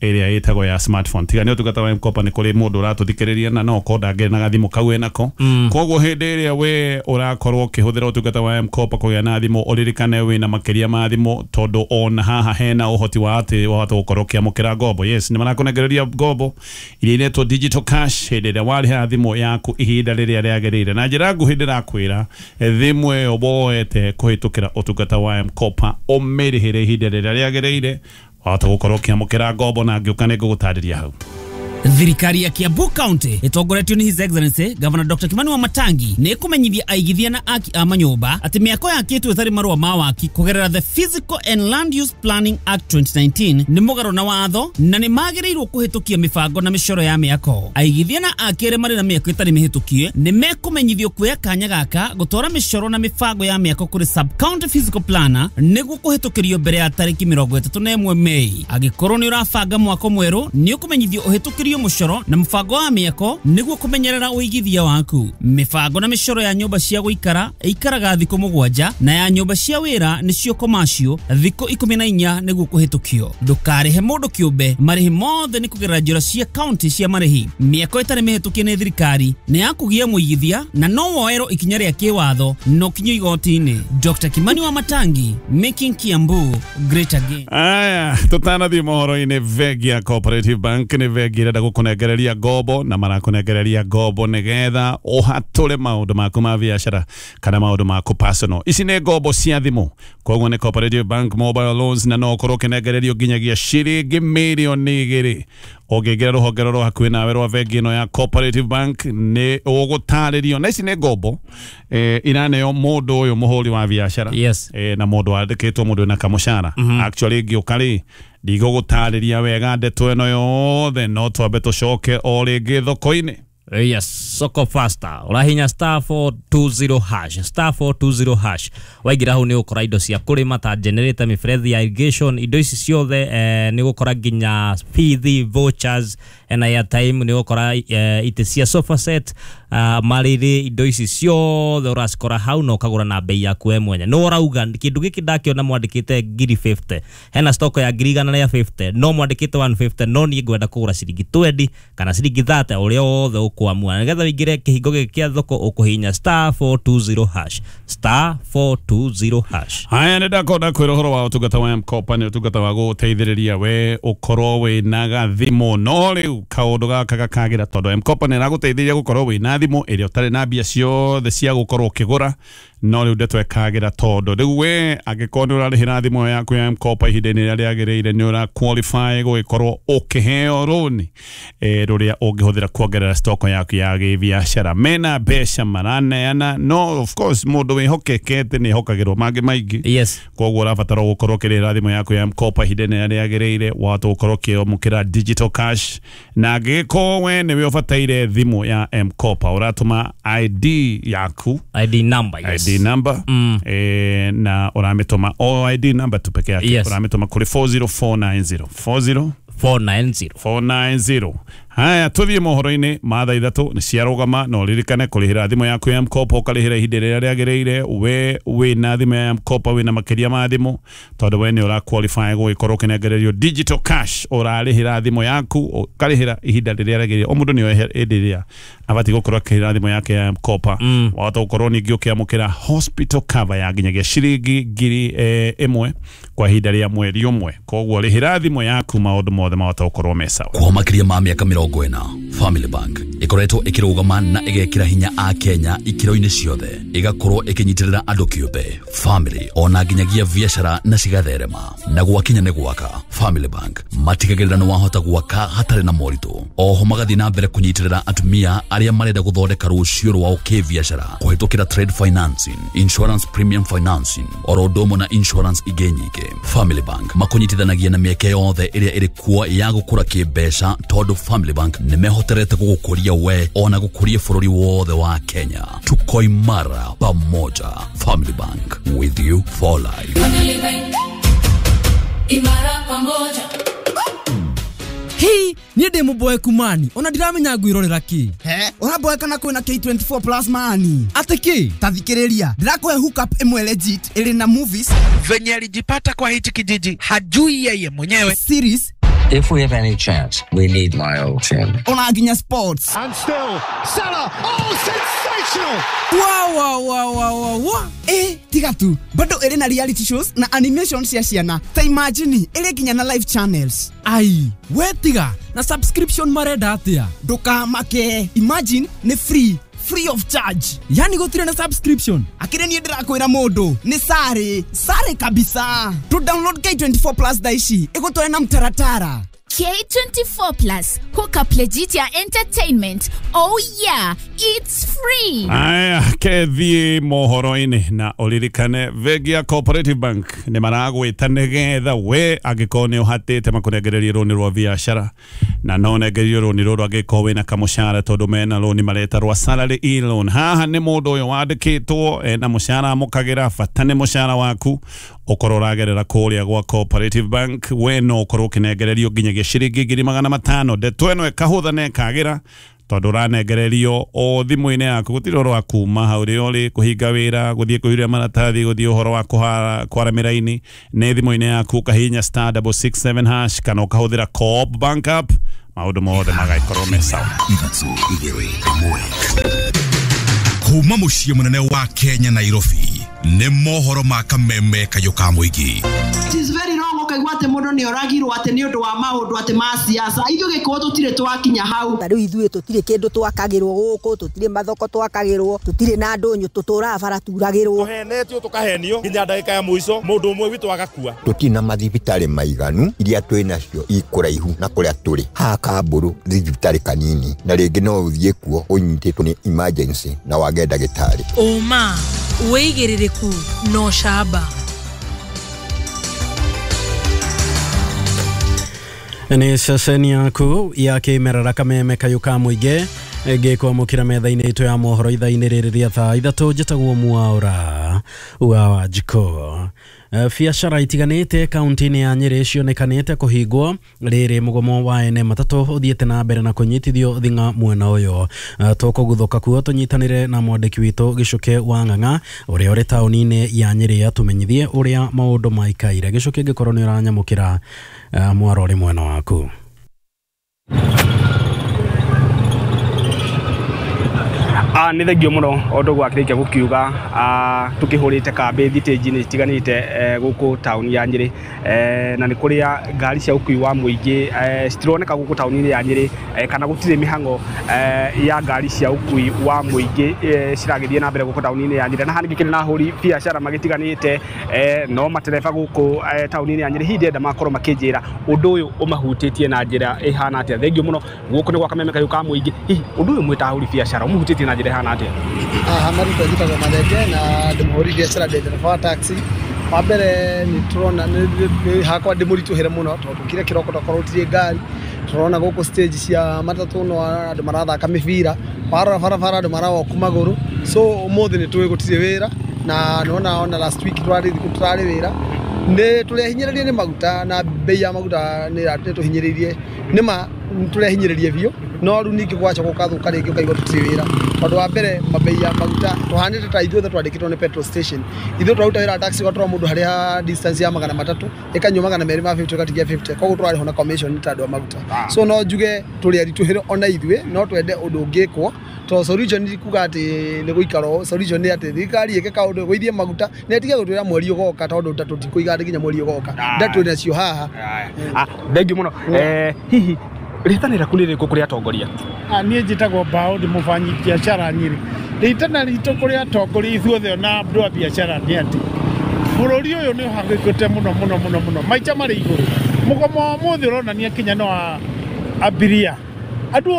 ĩrĩa ĩtagwo ya smartphone. Tiga nĩ ũtungata wa M-Kopa nĩ kũrĩ mũndũ ũratũthikĩrĩria na no okorwo ndangĩrĩ na gathimũ kau enako. Koguo hĩndĩ ĩrĩa we ũrakorwo ũkĩhũthĩra ũtungata wa M-Kopa kũgĩa na thimũ, ũririkane wĩna makĩria ma thimũ, tondũ ona haha hena ũhoti wa atĩ wahota gũkorwo ũkĩamũkĩra ngombo. Yes, nĩ marakũnengereria ngombo iria iretwo digital cash hĩndĩ ĩrĩa warĩha thimũ yaku ihinda rĩrĩa rĩagĩrĩire. Na njĩra nguhĩ ndĩrakwĩra, thimũ ĩyo woete kũhĩtũkĩra ũtungata wa M-Kopa ũmĩrĩhĩre ihinda rĩrĩa rĩagĩrĩire, wahota gũkorwo ũkĩamũkĩra ngombo, na ngĩũka nĩ ngũgũtarĩria hau. Thirikari ya Kiambu County ĩtongoretio nĩ His Excellency Governor Dr. Kimani Wamatangi nĩ ĩkũmenyithia aigithia na aki a manyũmba atĩ mĩako yakĩtwo ĩtarĩ marũa ma waki kũgerera the Physical and Land Use Planning Act 2019 nĩ mũgarũ na watho na nĩ magĩrĩirwo kũhĩtũkia mĩbango na mĩcoro ya mĩako. Aigithia na aki arĩa marĩ na mĩako ĩtarĩ mĩhĩtũkie nĩ mekũmenyithio kuoya kanya gaka gũtwara mĩcoro na mĩbango ya mĩako kũrĩ sub county physical planner nĩguo kũhĩtũkĩrio mbere ya tarĩki 31 Mei. Angĩkorwo nĩ ũrabanga mwako mwerũ nĩ ũkũmenyithio ũhĩtũkĩrio mũcoro na mũbango wa mĩako nĩguo kũmenyerera ũigithia waku. Mĩbango na mĩcoro ya nyũmba cia gũikara ĩikaraga thikũ 7 na ya nyũmba cia wĩra nĩcio commercial thikũ 14 nĩguo kũhĩtũkio. Ndũkarĩhe mũndũ kĩũmbe, marĩhi mothe nĩ kũgerera njĩra cia county cia marĩhi. Mĩako ĩtarĩ mĩhĩtũkie nĩ thirikari nĩ ya kũgia mũigithia na no woerwo ikinya rĩa kĩwatho na ũkinyio igoti-inĩ. Dr. Kimani Wamatangi, making Kiambu great again. Aya, tũtanathiĩ mohoro-inĩ, bengi ya Cooperative Bank nĩ bengi ĩrenda gũkũnengereria ngombo, na marakũnengereria ngombo nĩgetha ũhatũre maũndũ maku ma biacara kana maũndũ maku personal. Ici nĩ ngombo cia thimũ, koguo nĩ Cooperative Bank mobile loans, na no ũkorwo ũkĩnengererio nginyagia ciringi mirioni 2. Ũngĩingĩra rũhonge rũrĩa hakuhĩ nawe rwa bengi ĩno ya Cooperative Bank nĩ ũgũtarĩrio. Na ici nĩ ngombo iraneo mũndũ ũyũ mũhũri wa biacara, yes, na mũndũ wandĩkĩtwo, mũndũ wĩna kamũcara. Actually ngĩũka rĩ, ndigũgũtarĩria wega ndeto ĩno yothe, no twambe tũcoke o rĩngĩ thoko-inĩ. Yes, soko faster ũrahinya star 420 hash, star 420 hash. Waingĩra hau nĩ ũgũkora indo cia kũrĩma ta generator, mĩberethi ya irrigation, indo ici ciothe. Nĩ ũgũkora nginya bithi, vouchers na airtime, nĩ ũgũkora itĩ cia sofa set, marĩrĩ, indo ici ciothe ũracikora hau na ũkagũra na bei yaku we mwenye. No ũrauga kĩndũ gĩkĩ ndakĩona mwandĩkĩte 1,050, hena stock ya 1,150, no mwandĩkĩte 150, no niĩ ngwenda kũgũra ciringi 20 kana ciringi 30, ũrĩa wothe ũkwamua. Nĩgetha ũingĩre kĩhingo gĩkĩ kĩa thoko ũkũhihinya star 420 hash, star 420 hash. Haya, nĩ ndakonda kwĩra ũhoro wa ũtungata wa M-Kopa. Nĩ ũtungata wa gũgũteithĩrĩria we ũkorwo wĩna gathimũ. No rĩu kaũndũ gaka gakagĩra tondũ M-Kopa nĩ ĩragũteithĩrĩria gũkorwo wĩna thimũ ĩrĩa ũtarĩ na mbia ciothe cia gũkorwo ũkĩgũra. No rĩu ndeto ĩkagĩra tondũ rĩu we angĩkorwo nĩ ũrarĩhĩra thimũ yaku ya M-Kopa ihinda-inĩ rĩrĩa rĩagĩrĩire, nĩ ũra qualify gũgĩkorwo ũkĩheo rũni rũrĩa ũngĩhũthĩra kuongerera stock yaku ya gĩbiacara. Mena mbeca maraneana, no of course mũndũ wĩhokekete nĩ ehokagĩrwo mangĩ maingĩ. Yes, koguo ũrabatara gũkorwo ũkĩrĩhĩra thimũ yaku ya M-Kopa ihinda-inĩ rĩrĩa rĩagĩrĩire, wahota gũkorwo ũkĩamũkĩra digital cash. Na angĩgĩkorwo we nĩwe ũbataire thimũ ya M-Kopa, ũratũma ID yaku, ID number, yes, ID number, na ũramĩtũma o ID number tu peke yake. Yes. Ũramĩtũma kũrĩ 40490 40490. Haya, tuthiĩ mohoro-inĩ ma thaa 3 nĩ ciarũgama, na ũririkane kũrĩhĩra thimũ yaku ya M-Kopa, ũkarĩhĩra ihinda rĩrĩa rĩagĩrĩire. We wĩna thimũ ya M-Kopa wĩna makĩria ma thimũ, tondũ we nĩ ũra qualify gũgĩkorwo ũkĩnengererio digital cash. Ũrarĩhĩra thimũ yaku ũkarĩhĩra ihinda rĩrĩa rĩagĩrĩire. O mũndũ nĩoĩ hĩndĩ ĩrĩa abatiĩ gũkorwo akĩrĩhĩra thimũ yake ya M-Kopa. Wahota gũkorwo ningĩ ũkĩamũkĩra hospital cover ya nginyagia ciringi 1,000 kwa ihinda rĩa mweri ũmwe. Koguo rĩhĩra thimũ yaku, maũndũ mothe mahota gũkorwo me sawa. Kwa makĩria ma mĩaka 40, Family Bank ĩkoretwo ĩkĩrũgama na ĩgekĩra hinya a Kenya ikĩro-inĩ ciothe, ĩgakorwo ĩkĩnyitĩrĩra andũ kĩũmbe, family ona nginyagia biacara na cigatherema. Na gwakinya nĩ gwaka, Family Bank matigagĩrĩra nĩ wahota gwaka hatarĩ na moritũ. Oho magathiĩ na mbere kũnyitĩrĩra atumia arĩa marenda gũthondeka rũciũ rwao kĩbiacara kũhĩtũkĩra trade financing, insurance premium financing, oro ũndũ ũmwe na insurance ingĩ nyingĩ. Family Bank makũnyitithanagia na mĩeke yothe ĩrĩa ĩrĩ kuo ya gũkũra kĩmbeca, tondũ Family Bank nĩ mehoterete gũgũkũria we ona gũkũria bũrũri wothe wa Kenya. Tuko imara pamoja. Family Bank, with you for life. Family Bank, imara pamoja. Hii niĩ ndĩ mũboeku mani, ona ndiramenya ngwĩrorera kĩ. He, ũraboeka na kwĩna K24 plus mani. Atĩ kĩ? Ta thikĩrĩria, ndĩrakũhe hookup ĩmwe legit ĩrĩ na movies. Venye alijipata kwa hichi kijiji hajui yeye mwenyewe. Series. If we have any chance, we need Lyle Chin. Ona nginya sports. And still, Salah, oh, sensational! Wow, wow, wow, wow, wow. Tiga tu, bado ĩrĩ na reality shows na animation cia ciana. Ta imagine, ĩrĩ nginya na live channels. Ai, we tiga, na subscription marenda atĩa? Ndũkamake, imagine nĩ free. Free of charge. Yani gũtirĩ na subscription. Akĩrĩ niĩ ndĩrakwĩra mũndũ nĩ sare sare kabisa. To download K24 plus thaa ici ĩgũtware na mtaratara. K24 Plus, hook up legit ya entertainment. Oh yeah, it's free. Aya, kethiĩ mohoro-inĩ na ũririkane bengi ya Cooperative Bank nĩ maragwĩta nĩgetha we angĩkorwo nĩ ũhatĩte makũnengererie rũni rwa biacara, na no ũnengererio rũni rũrũ angĩkorwo wĩna kamũcara, tondũ mena rũni mareta rwa salary e-loan. Haha nĩ mũndũ ũyũ wandĩkĩtwo ena mũcara amũkagĩra, bata nĩ mũcara waku ũkorwo ũragerera kũrĩa gwa Cooperative Bank, we no ũkorwo ũkĩnengererio nginyagia ciringi 500,000. Ndeto ĩno ĩkahũtha na ĩkagĩra tondũ ũranengererio o thimũ-inĩ yaku, gũtirĩ ũhoro wa kuma hau ũrĩa ũrĩ kũhinga wĩra, gũthiĩ kũiyũria maratathi, gũthiĩ ũhoro wa kwara mĩraini. Nĩ thimũ-inĩ yaku ũkahihinya *667# kana ũkahũthĩra Co-op Bank app, maũndũ mothe magagĩkorwo me sawa. Kuma mũciĩ mũnene wa Kenya Nairobi nĩ mohoro ma kameme kayũ ka mũingĩ. It is very wrong ũkaigua atĩ mũndũ nĩ oragirwo atĩ nĩ ũndũ wa maũndũ atĩ ma siasa. Ithuĩ gĩkũyũ tũtirĩ twakinya hau. Ta rĩu ithuĩ tũtirĩ kĩndũ twakagĩrwo gũkũ, tũtirĩ mathoko twakagĩrwo, tũtirĩ na ndũnyũ, tũtũraga bara turagĩrwo. Tũhenetio tũkahenio nginya ndagĩka ya mũico mũndũ ũmwe witũ agakua. Tũtirĩ na mathibitarĩ maiganu, iria twĩ nacio ikũraihu na kũrĩa tũrĩ. Haha Kambũrũ thibitarĩ kanini, na rĩngĩ no ũthiĩ kuo ũnyitĩtwo nĩ emergency na wage ndagĩtarĩ. Ũma, wĩigĩrĩrĩku na ũcamba. Nĩ ceceni yaku ya kĩmerera kameme kayũ ka mũingĩ ngĩkwamũkĩra metha-inĩ itũ ya mohoro ithaa-inĩ rĩrĩ rĩa thaa 3. Njĩtagwo Mwaũra wa Wanjikũ. Biacara itiganĩte kaunti-inĩ ya Nyĩrĩ cionekanĩte kũhingwo rĩrĩ mũgomo wa ene matatũ ũthiĩte na mbere na kũnyitithio thing'a mwena ũyũ. Tũkũguthũka kuo tũnyitanĩre na mwandĩki witũ Gĩcuke wa Ng'ang'a ũrĩa ũrĩ taũni-inĩ ya Nyĩrĩ atũmenyithie ũrĩa maũndũ maikaire. Gĩcuke, ngĩkorwo nĩ ũranyamũkĩra mwaro ũrĩ mwena waku. Nĩ thengio mũno o ũndũ gwakĩrĩkia gũkiuga tũkĩhũrĩte kambĩ thitĩnji-inĩ itiganĩte gũkũ taũni ya Nyĩrĩ, na nĩ kũrĩa ngari cia ũkui wa mũingĩ citironeka gũkũ taũni-inĩ ya Nyĩrĩ, kana gũtirĩ mĩhang'o ya ngari cia ũkui wa mũingĩ ciragĩthiĩ na mbere gũkũ taũni-inĩ ya Nyĩrĩ. Na haha ningĩ na ahũri biacara magĩtiganĩte no matereba gũkũ taũni-inĩ ya Nyĩrĩ. Hihi ndĩrenda makorwo makĩnjĩra ũndũ ũyũ ũmahutĩtie na njĩra ĩhana atĩa. Thengio mũno gũkũ nĩ gwa kameme kayũ ka mũingĩ. Hihi ũndũ ũyũ mwĩ ta ahũri biacara ũmũhutĩtie na njĩra ĩhana atĩa? Haha marĩtwa njĩtagwo Mathenge na ndĩ mũhũri biacara, ndĩ ndereba wa taxi. Wa mbere nĩ tũrona hakwa ndĩ mũritũhĩre mũno tondũ kĩrĩa kĩroko tokorwo gũtirĩ ngari. Tũrona gũkũ stage cia matatũ no andũ marathaka mĩbira, warora barabara andũ marawoku magũrũ. So ũmũthĩ nĩ tũĩ gũtirĩ wĩra, na nĩwona ona last week tũrarĩ wĩra. Nĩ tũrehinyĩrĩrie nĩ maguta na bei ya maguta nĩ tũhinyĩrĩirie, nĩ ma tũrehinyĩrĩrie biũ. No rĩu ningĩ gwacoka gũkathũka rĩngĩ ũkaigua tũtirĩ wĩra, tondũ wa mbere mabei ya maguta tũhanĩte ta ithuothe twandĩkĩtwo nĩ petrol station. Ithuĩ tũraruta wĩra wa taxi, ũgatwara mũndũ harĩa distance ya 300 ĩkanyua 250 ũgatigia 50, koguo tũrarĩhwo na commission ta andũ a maguta. So no njuge tũrĩ aritũhĩre ona ithuĩ, no twende ũndũ ũngĩkwo, tondũ solution ti kuga atĩ nĩ gũikara ũũ. Solution nĩ atĩ thirikari ĩke kaũndũ ĩgũithie maguta na ĩtige gũtwĩra mweri ũgoka, tondũ ta tũtikũiga atĩ nginya mweri ũgoka nda twĩ nacio haha. Thengiũ mũno. Hihi rĩtana rĩaku nĩ rĩrĩkũ kũrĩ atongoria? Niĩ njĩtagwo Mbaũ, ndĩ mũbanyi biacara Nyĩrĩ. Rĩtana ritũ kũrĩ atongoria ithuothe ona andũ a biacara nĩ atĩ bũrũri ũyũ nĩ ũhangĩkĩte mũno mũno mũno mũno, maica marĩ igũrũ. Mũgomo wa ũmũthĩ ũronania kinya no abiria, andũ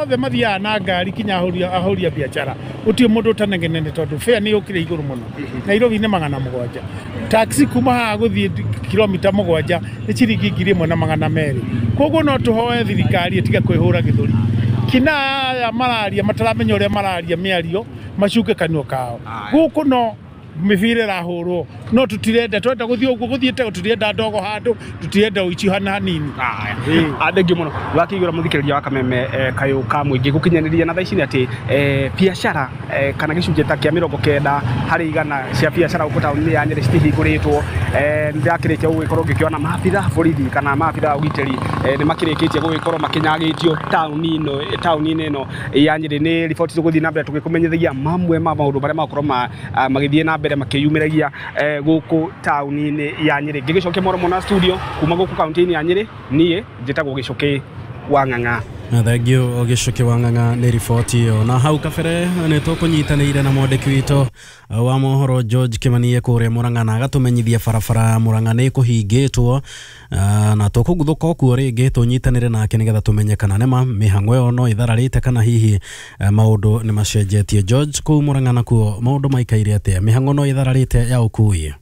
othe mathiaga na ngari, kinya ahũri a biacara, gũtirĩ mũndũ ũtanegenene, tondũ fare nĩ yũkire igũrũ mũno. Nairobi nĩ 700, taxi kuma haha gũthiĩ kilomita 7 nĩ ciringi 1200. Koguo no tũhoe thirikari ĩtige kwĩhũra gĩthũri. Kina aya mararia mataramenya ũrĩa mararia mĩario, macuke kanua kao. Gũkũ no mĩbira ĩrahũrwo, no tũtirenda, twenda gũthiĩ ũguo gũthiĩte, tũtirenda ndogo handũ, tũtirenda ũici hana hanini. Thengiũ mũno. Wakĩigũra mũthikĩrĩria wa Kameme kayũ ka mũingĩ gũkinyanĩria na thaa ici nĩ atĩ biacara kana gĩcunjĩ ta kĩa 90 harĩ igana cia biacara gũkũ taũni-inĩ ya Nyĩrĩ citihingũrĩtwo. Nĩndakĩrĩkia gũgĩkorwo ngĩkĩona maabitha borithi kana maabitha a ũgitĩri nĩ makĩrĩkĩtie gũgĩkorwo makĩnyagĩtio taũni-inĩ ĩno ya Nyĩrĩ. Nĩ riboti tũgũthiĩ na mbere tũgĩkũmenyithagia mamwe ma maũndũ marĩa magũkorwo magĩthiĩ na mbere makĩyumĩragia gũkũ taũni-inĩ ya Nyĩrĩ. Ngĩgĩcokia mũromo na studio kuma gũkũ kaunti-inĩ ya Nyĩrĩ, niĩ njĩtagwo Gĩcũkĩ wa Ng'ang'a. Thengiũ Gĩcũkĩ wa Ng'ang'a nĩ riboti ĩyo. Na hau kabere nĩ tũkũnyitanĩire na mwandĩki witũ wa mohoro George Kimani kũrĩa Murang'a, na agatũmenyithia barabara ya Murang'a nĩ kũhingĩtwo, na tũkũguthũka okuo rĩngĩ tũnyitanĩre nake nĩgetha tũmenye kana nĩma mĩhang'o ĩyo no ĩthararĩte kana hihi maũndũ nĩ macenjetie. George, kũu Murang'a nakuo maũndũ maikaire atĩa? Mĩhang'o no ĩthararĩte ya ũkui?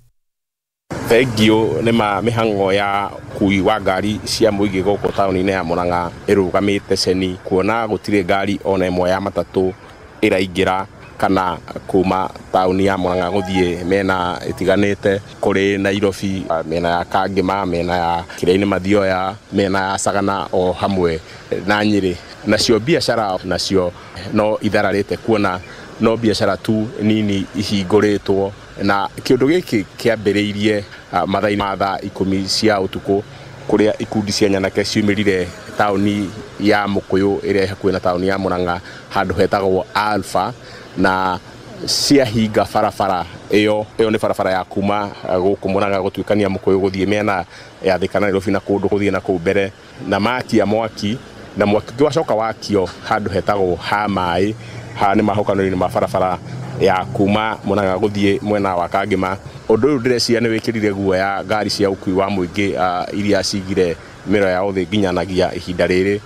Thengiũ. Nĩ ma mĩhang'o ya ũkui wa ngari cia mũingĩ gũkũ taũni-inĩ ya Murang'a ĩrũgamĩte ceni, kuona gũtirĩ ngari ona ĩmwe ya matatũ ĩraingĩra kana kuma taũni ya Murang'a gũthiĩ mĩena ĩtiganĩte, kũrĩ Nairobi, mĩena ya Kangĩma, mĩena ya Kĩrĩa-inĩ Mathioya, mĩena ya Sagana o hamwe na Nyĩrĩ. Nacio biacara nacio no ithararĩte, kuona no biacara tu nini ihingũrĩtwo, na kĩũndũ gĩkĩ kĩambĩrĩirie mathaa-inĩ ma thaa 10 cia ũtukũ, kũrĩa ikundi cia nyanake ciumĩrire taũni ya Mũkũyũ ĩrĩa ĩ hakuhĩ na taũni ya Murang'a, handũ hetagwo Alpha, na ciahinga barabara ĩyo. Ĩyo nĩ barabara ya kuma gũkũ Murang'a gũtuĩkania Mũkũyũ gũthiĩ mĩena ya Thika na Nairobi na kũndũ gũthiĩ na kũu mbere, na makia mwaki, na mwaki ũngĩ wacoka wakio handũ hetagwo ha maĩ, haha nĩ mahokanĩrio-inĩ ma barabara ya kuma Murang'a gũthiĩ mwena wa Kangĩma. Ũndũ ũyũ ndĩreciria nĩ wĩkĩrire guoya ngari cia ũkui wa mũingĩ iria cigire mĩro yao thĩ nginyanagia ihinda rĩrĩ,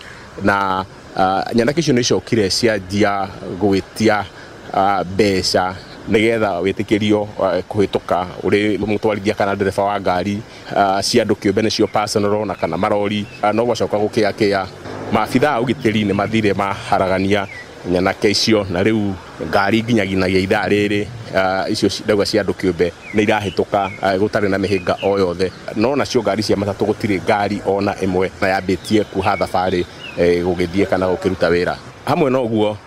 na nyanake icio nĩ icokire cianjia gwĩtia mbeca nĩgetha wĩtĩkĩrio kũhĩtũka ũrĩ mũtwarithia kana ndereba wa ngari cia andũ kĩũmbe, nĩcio personal na kana marori. No gwacoka gũkĩakĩa, maabitha a ũgitĩri nĩ mathire maharagania nyanake icio, na rĩu ngari nginyaginagia ithaa rĩrĩ icio ndauga cia andũ kĩũmbe nĩ irahĩtũka gũtarĩ na mĩhĩnga o yothe. No nacio ngari cia matatũ gũtirĩ ngari ona ĩmwe na yambĩtie kuoha thabarĩ gũgĩthiĩ kana gũkĩruta wĩra. Hamwe na ũguo,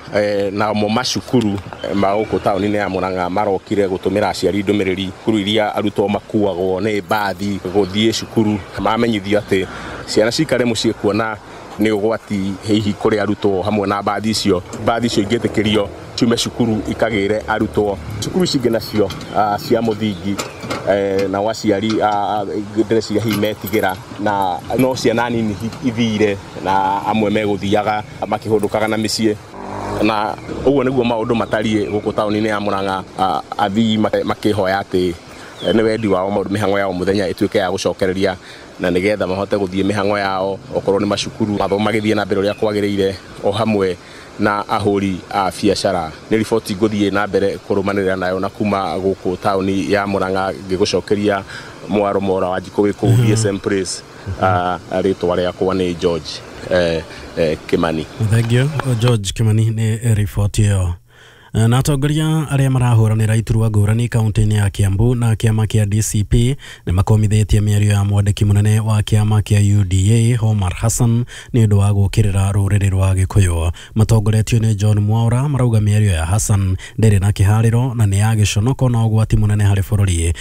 namo macukuru ma gũkũ taũni-inĩ ya Murang'a marokire gũtũmĩra aciari ndũmĩrĩri. Cukuru iria arutwo makuagwo nĩ mbathi gũthiĩ cukuru mamenyithio atĩ ciana cikare mũciĩ, kuona nĩ ũgwati hihi kũrĩ arutwo hamwe na mbathi icio. Mbathi icio ingĩtĩkĩrio ciume cukuru ikagĩre arutwo. Cukuru ici ingĩ nacio cia mũthingi, nao aciari ndĩreciria hihi metigĩra, na no ciana nini ithire, na amwe megũthiaga makĩhũndũkaga na mĩciĩ. Na ũguo nĩguo maũndũ matariĩ gũkũ taũni-inĩ ya Murang'a, athii makĩhoya atĩ nĩ wendi wao mĩhang'o yao mũthenya ĩtuĩke ya gũcokereria, na nĩgetha mahote gũthiĩ mĩhang'o yao, okorwo nĩ macukuru, mathomo magĩthiĩ na mbere ũrĩa kwagĩrĩire, o hamwe na ahũri a biacara. Nĩ riboti ngũthiĩ na mbere kũrũmanĩrĩra nayo, na kuma gũkũ taũni ya Murang'a ngĩgũcokeria mwaro mora wa njikũ wĩ kũu DSM Place. Rĩtwa rĩakwa nĩ George Kimani. Thank you George Kimani nĩ riboti ĩyo. Na atongoria arĩa marahũranĩra iturwa ngũrani kaunti-inĩ ya Kiambu na kĩama kĩa DCP nĩ makomithĩtie mĩario ya mwandĩki mũnene wa kĩama kĩa UDA Omar Hassan nĩ ũndũ wa gũũkĩrĩra rũrĩrĩ rwa Gĩkũyũ. Matongoretio nĩ John Mwaura marauga mĩario ya Hassan ndĩrĩ na kĩharĩro na nĩ ya gĩconoko na ũgwati mũnene harĩ bũrũri.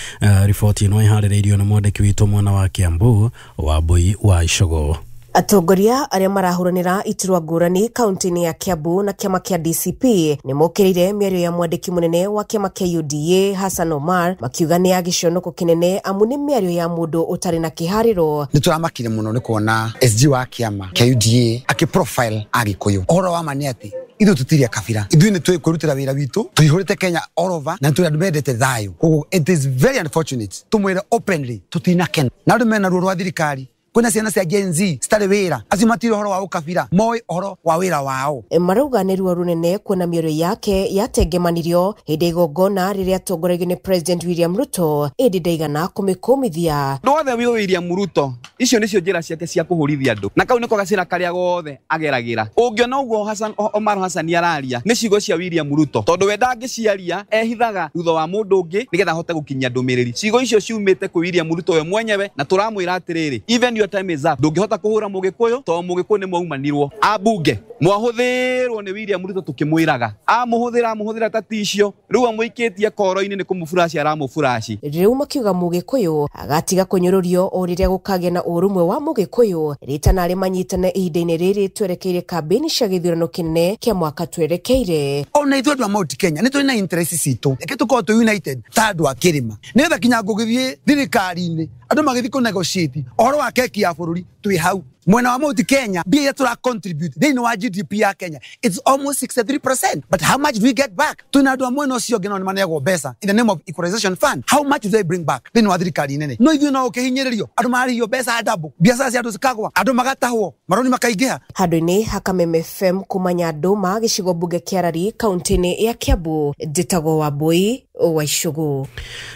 Riboti ĩno ĩharĩrĩirio nĩ mwandĩki witũ mwena wa Kiambu Wambui wa Icogo. Atongoria arĩa marahũranĩra iturwa ngũrani kaunti-inĩ ya Kiambu na kĩama kĩa DCP nĩ mokĩrĩire mĩario ya mwandĩki mũnene wa kĩama kĩa UDA Hassan Omar makiuga nĩ ya gĩconoko kĩnene amu nĩ mĩario ya mũndũ ũtarĩ na kĩharĩro. Nĩ tũramakire mũno nĩ kuona SG wa kĩama kĩa UDA akĩ profile Agĩkũyũ. Ũhoro wa ma nĩ atĩ ithuĩ tũtirĩ kabira, ithuĩ nĩ twĩkwĩrutĩra wĩra witũ, tũihũrĩte Kenya all over na tũrĩ andũ mendete thayũ. Koguo it is very unfortunate tũmwĩre openly tũtinakena na andũ mena ruo rwa thirikari. Kwĩna ciana cia Gen Z citarĩ wĩra, acio matirĩ ũhoro wa ũkabira, moĩ ũhoro wa wĩra wao. Marauga nĩ ruo rũnene kuona mĩario yake yatengemanirio hĩndĩ ya igongona rĩrĩa atongoragio nĩ President William Ruto ĩndĩ ndaigana kũmĩkũmithia. Andũ othe wĩ William Ruto icio nĩcio njĩra ciake cia kũhũrithia andũ, na kau nĩko gacĩra karĩa gothe ageragĩra. Ũngĩona ũguo Hassan Omar Hassan araria nĩ ciugo cia William Ruto, tondũ we ndangĩciaria, ehithaga thutha wa mũndũ ũngĩ nĩgetha ahote gũkinyia ndũmĩrĩri. Ciugo icio ciumĩte kwĩ William Ruto we mwenyewe, na tũramwĩra atĩrĩrĩ, even your time is up. Ndũngĩhota kũhũra mũgĩkũyũ tondũ mũgĩkũyũ nĩ mwaumanirwo. Ambunge mwahũthĩrwo nĩ William Ruto tũkĩmwĩraga, amũhũthĩra ta ticio, rĩu amũikĩtie koro-inĩ nĩ kũmũburaci aramũburaci. Rĩu makiuga mũgĩkũyũ agatiga kũnyũrũrio o rĩrĩa gũkagĩa na ũrũmwe wa mũgĩkũyũ rĩtana arĩa manyitane ihinda-inĩ rĩrĩ twerekeire kambĩini cia gĩthurano kĩnene kĩa mwaka twerekeire. Ona ithuĩ andũ a Mount Kenya nĩ tũrĩ na interest citũ, reke tũkorwo twĩ united ta andũ a kĩrĩma, nĩgetha kinya ngũgĩthiĩ thirikari-inĩ andũ magĩthiĩ kũ negotiate ũhoro wa keki ya bũrũri twĩ hau. Mwena wa Mount Kenya mbia iria tũra contribute thĩinĩ wa GDP ya Kenya it's almost 63%, but how much do we get back? Twĩna andũ a mwena ũcio ũngĩ nao nĩ maneagwo mbeca in the name of equalization fund, how much do they bring back thĩinĩ wa thirikari nene? No ithuĩ no ũkĩhinyĩrĩrio, andũ mararĩhio mbeca double, biacara cia andũ cikagwa, andũ magatahwo, maroni makaingĩha. Handũ-inĩ ha Kameme FM kuma Nyandũma gĩcigo mbunge kĩa Rari kaunti-inĩ ya Kiambu, njĩtagwo Wambui wa Icogo.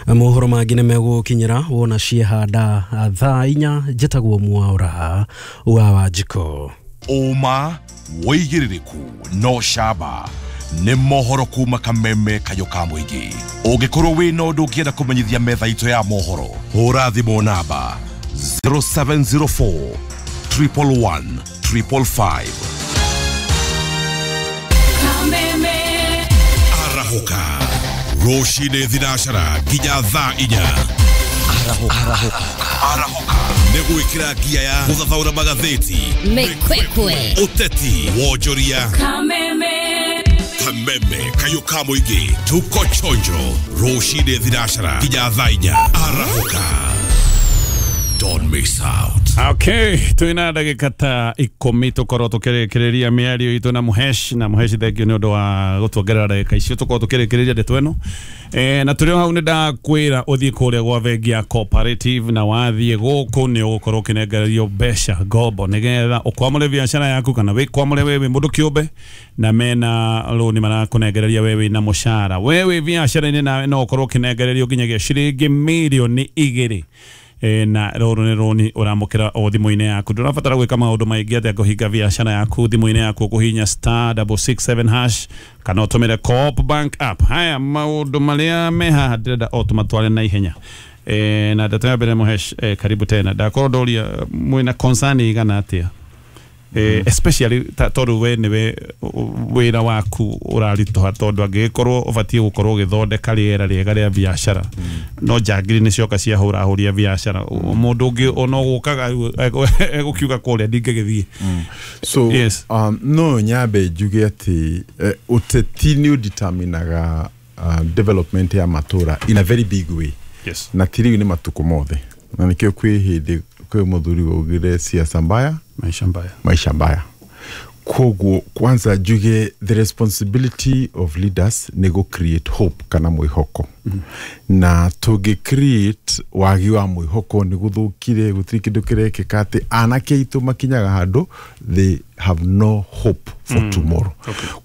Mohoro mangĩ nĩ megũkinyĩra wona ciehanda thaa 4. Njĩtagwo Mwaura wa Wanjikũ. Ũma wĩigĩrĩrĩku no camba nĩ mohoro kuma Kameme kayũ ka mũingĩ. Ũngĩkorwo wĩna ũndũ ũngĩenda kũmenyithia metha itũ ya mohoro, hũra thimũ namba 0704 111 555. Kameme arahũka rũcinĩ thinacara nginya thaa 4. Arahũka nĩ gwĩkĩra ngia ya gũthathaũra magathĩti, mĩkwekwe, ũteti, wonjoria. Kameme Kameme kayũ ka mũingĩ, tuko chonjo rũcinĩ thinacara nginya thaa 4. Arahũka, don't miss out. Okay, twina ndagĩka ta 10 tũkorwo tũkĩrĩkĩrĩria mĩario itũ na Mũhesh, na Mũhesh thengio nĩ ũndũ wa gũtuongerera ndagĩka icio tũkorwo tũkĩrĩkĩrĩria ndeto ĩno. Na tũrĩ o hau nĩ ndakwĩra ũthiĩ kũrĩa gwa bengi ya Cooperative, na wathiĩ gũkũ nĩ ũgũkorwo ũkĩnengererio mbeca ngombo nĩgetha ũkwamũre biacara yaku kana wĩkwamũre wewe mũndũ kĩũmbe, na mena rũni marakũnengereria we wĩna mũcara, we wĩ biacara-inĩ nawe no ũkorwo ũkĩnengererio nginyagia ciringi mirioni 2. Na rũrũ nĩ rũni ũramũkĩra o thimũ-inĩ yaku. Ndũrabatara gwĩka maũndũ maingĩ atĩa kũhinga biacara yaku thimũ-inĩ yaku, ũkũhihinya *667# kana ũtũmĩre Co-op Bank app. Haya maũndũ marĩa me haha ndĩrenda o tũmatware na ihenya. Na ndeto ya mbere Mũhesh, karibu tena. Ndakorwo ndoria mwĩna concern igana atĩa, especially tondũ we nĩwe wĩra waku ũraritũha, tondũ angĩgĩkorwo ũbatiĩ gũkorwo ũgĩthondeka rĩera rĩega rĩa biacara, no njangiri nĩ cioka ciahũrahũria biacara, mũndũ ũngĩ ona ũgũkaga egũkiuga kũrĩa ndingĩgĩthiĩ. So yes. No nyambe njuge atĩ ũteti nĩ ũdeterminaga development ya matũra in a very big way. Yes. Na ti rĩu nĩ matukũ mothe, na nĩkĩo kwĩ hĩndĩ kwĩ mũthuri waugire siasa mbaya maisha mbaya, maisha mbaya. Koguo kwanza njuge the responsibility of leaders nĩ gũ create hope kana mwĩhoko. Na tũngĩ create wagi wa mwĩhoko nĩ gũthũkire gũtirĩ kĩndũ kĩrekĩka atĩ anake aitũ makinyaga handũ they have no hope for tomorrow.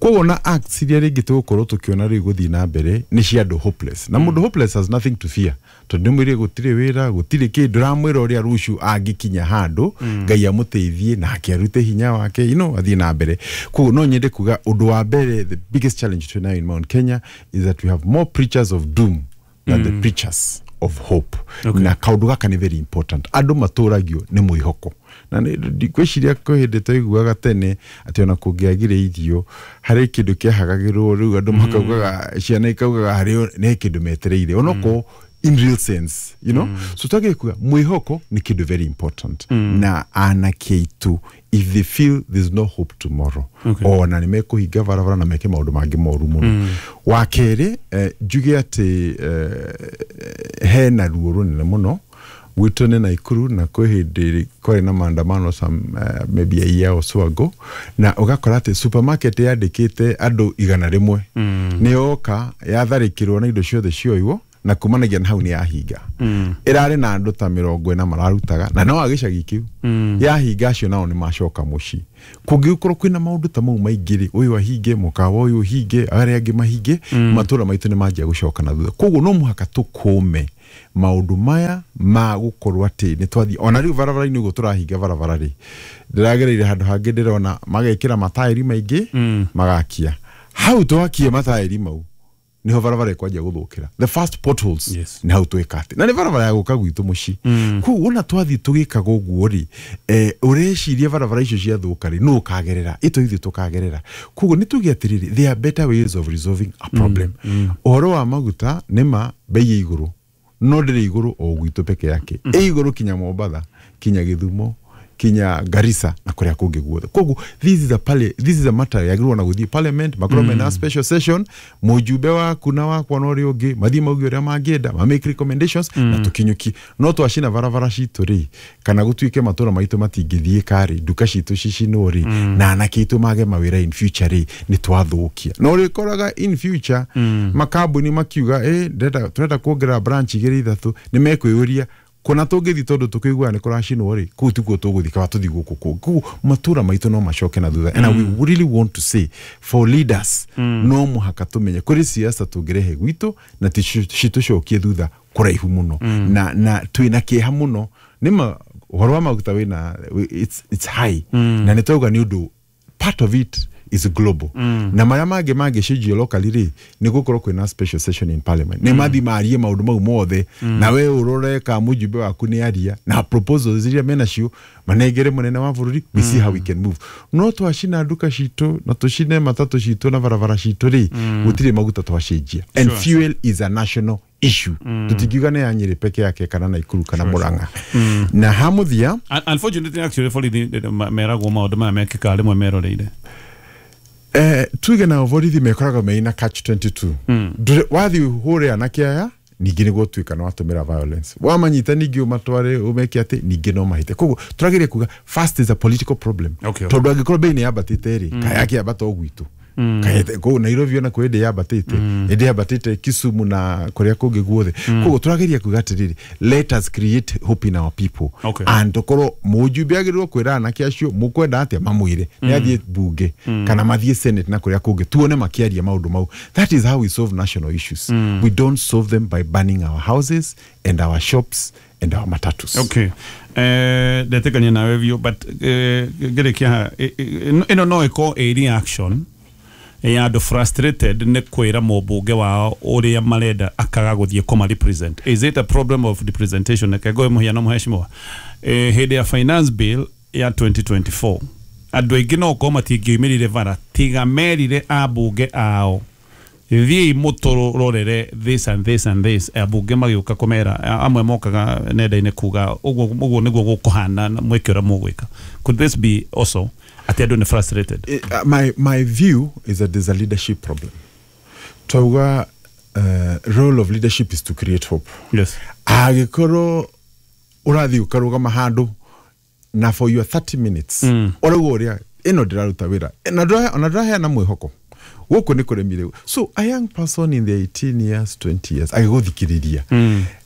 Koguo na acts iria rĩngĩ tũgũkorwo tũkĩona rĩu gũthiĩ na mbere nĩ cia andũ hopeless, na mũndũ hopeless has nothing to fear, tondũ nĩ mwĩrĩ gũtirĩ wĩra gũtirĩ kĩndũ ramwĩra ũrĩa rũciũ angĩkinya handũ Ngai amũteithie nake arute hinya wake athiĩ na mbere. Koguo no nyende kuga ũndũ wa mbere, the biggest challenge to now in Mount Kenya is that we have more preachers of doom than the preachers of hope. Na kaũndũ gaka nĩ very important, andũ matũragio nĩ mwĩhoko. Na ndikwĩciria kwĩ hĩndĩ twaiguaga tene atĩ ona kũngĩagire irio harĩ kĩndũ kĩahagagĩrwo rĩu andũ makaugaga ciana ikaugaga harĩ nĩ kĩndũ metereire onokorwo in real sense, So twagĩrĩire kuga mwĩhoko nĩ kĩndũ very important. Na anake aitũ if they feel there's no hope tomorrow, ona nĩ mekũhinga barabara na meke maũndũ mangĩ moru mũno. Wa kerĩ, njuge atĩ hena ruo rũnene mũno gwitũ nĩ Naikuru, na kwĩ hĩndĩ kwarĩ na maandamano some maybe a year or so ago, na ũgakora atĩ supermarket yandĩkĩte andũ 100 nĩ yoka yatharĩkĩrwo na indo ciothe cioywo, na kumanagia na hau nĩ yahinga. Ĩrarĩ na andũ ta 40 mararutaga na no agĩcagi kĩu yahinga acio nao nĩ macoka mũciĩ. Kũngĩgĩkorwo kwĩna maũndũ ta mau maingĩ rĩ, ũyũ ahinge mũkawa ũyũ ũhinge arĩa angĩ mahinge, matũra maitũ nĩ manjia gũcoka na thutha. Koguo no mũhaka tũkũme maũndũ maya ma gũkorwo atĩ nĩ twathiĩ ona rĩu barabara-inĩ ũguo tũrahinga barabara rĩ, ndĩragereire handũ hangĩ ndĩrona magekĩra mataĩri maingĩ magakia hau twakie mataĩri mau niho barabara ĩkwanjia gũthũkĩra, the first potholes nĩ hau twĩka atĩ na nĩ barabara ya gũka gwitũ mũciĩ. Koguo ona twathiĩ tũgĩkaga ũguo rĩ, ũreciria barabara icio ciathũka rĩ nũ ũkagerera ĩto ithuĩ tũkagerera. Koguo nĩ tuge atĩrĩrĩ, there are better ways of resolving a problem. Ũhoro wa maguta nĩ ma bei ĩ igũrũ, no ndĩrĩ igũrũ o gwitũ peke yake, ĩ igũrũ kinya Mombatha, kinya Gĩthumo, kinya Garissa na kuria kũngĩ guothe. Koguo this is a matter yagĩrĩirwo na gũthiĩ parliament, makorwo mena special session, mũjumbe waku na wakwa na ũrĩa ũngĩ mathiĩ mauge ũrĩa mangĩenda, ma make recommendations na tũkinyũkie. No twacina barabara citũ rĩ, kana gũtuĩke matũra maitũ matingĩthiĩka rĩ, nduka citũ cicinwo rĩ, na anake aitũ mage mawĩra in future rĩ, nĩ twathũkia. Na ũrĩkoraga in future makambuni makiuga tũrenda kuongerera branch 2 3, nĩ mekwĩyũria kona tũngĩthiĩ tondũ tũkĩiguaga nĩ kũracinwo rĩ, kũu tikuo tũgũthiĩ, kaba tũthiĩ gũkũ kũngĩ. Koguo matũra maitũ no macoke na thutha. And we really want to say for leaders, no mũhaka tũmenye kũrĩ siasa tũngĩrehe gwitũ na citũcokie thutha kũraihu mũno. Na twĩna kĩeha mũno nĩma ũhoro wa maguta wĩna it's high, na nĩ twauga nĩ ũndũ part of it is global. Na marĩa mangĩ mangĩcenjio locally rĩ, nĩ gũkorwo kwĩna special session in parliament, nĩ mathi marie maũndũ mau mothe, na we ũrore ka mũjumbe waku nĩ aria na proposals iria menacio manengere mũnene wa bũrũri, we see how we can move. No twacina nduka citũ na tũcine matatũ citũ na barabara citũ rĩ, gũtirĩ maguta twacenjia. And fuel is a national issue. Tũtingiuga nĩ ya Nyĩrĩ peke yake kana Naikuru kana Murang'a. Na hamuthia, unfortunately actually borithi meragwo maũndũ maya mekĩkaga rĩmwe meroreire. Tuge na borithi mekoraga meina catch 22. Wathiĩ hũre anake aya ningĩ nĩ gũtuĩka no watũmĩra violence, wamanyita ningĩ ũmatware ũmeke atĩ ningĩ no mahĩte. Koguo tũragĩria kuga first is a political problem, tondũ angĩkorwo bei nĩ yambatĩte rĩ, kaya kĩambata o gwitũ, kũu Nairobi ona kwĩ ĩndĩ yambatĩte, ĩndĩ yambatĩte Kisumu na kũrĩa kũngĩ guothe. Koguo tũrageria kuga atĩrĩrĩ, let us create hope in our people. And tũkorwo mũjumbe agĩrĩirwo kwĩra anake acio mũkwenda atĩa mamwĩre nĩ athiĩ bunge kana mathiĩ senate na kũrĩa kũngĩ, tuone makĩaria maũndũ mau. That is how we solve national issues. We don't solve them by burning our houses and our shops and our matatus. Okay. Ndetekania nawe biũ, but ngĩrĩkia ĩno no ĩkorwo ĩ reaction ya andũ frustrated nĩ kwĩra mũmbunge wao ũrĩa marenda akaga gũthiĩ kũma represent. Is it a problem of representation? Reke ngũhe mũhiano mũheshimiwa. Hĩndĩ ya finance bill ya 2024 andũ aingĩ no gũkorwo matingĩoimĩrire bara tiga merire ambunge ao thiĩi mũtũrorere this and this and this. Ambunge magĩũka kũmera, amwe mokaga nenda-inĩ kuga ũguo nĩguo gũkũhana mwĩke ũrĩa mũgwĩka. Could this be also atĩ andũ nĩ frustrated? My view is that there's a leadership problem. Twauga role of leadership is to create hope. Yes. Angĩkorwo ũrathiĩ ũkarũgama handũ na for your 30 minutes ũrauga ũrĩa ĩno ndĩraruta wĩra na ndũraheana mwĩhoko, Gũkũ nĩ kũremire. So a young person in the 18 years, 20 years agĩgũthikĩrĩria,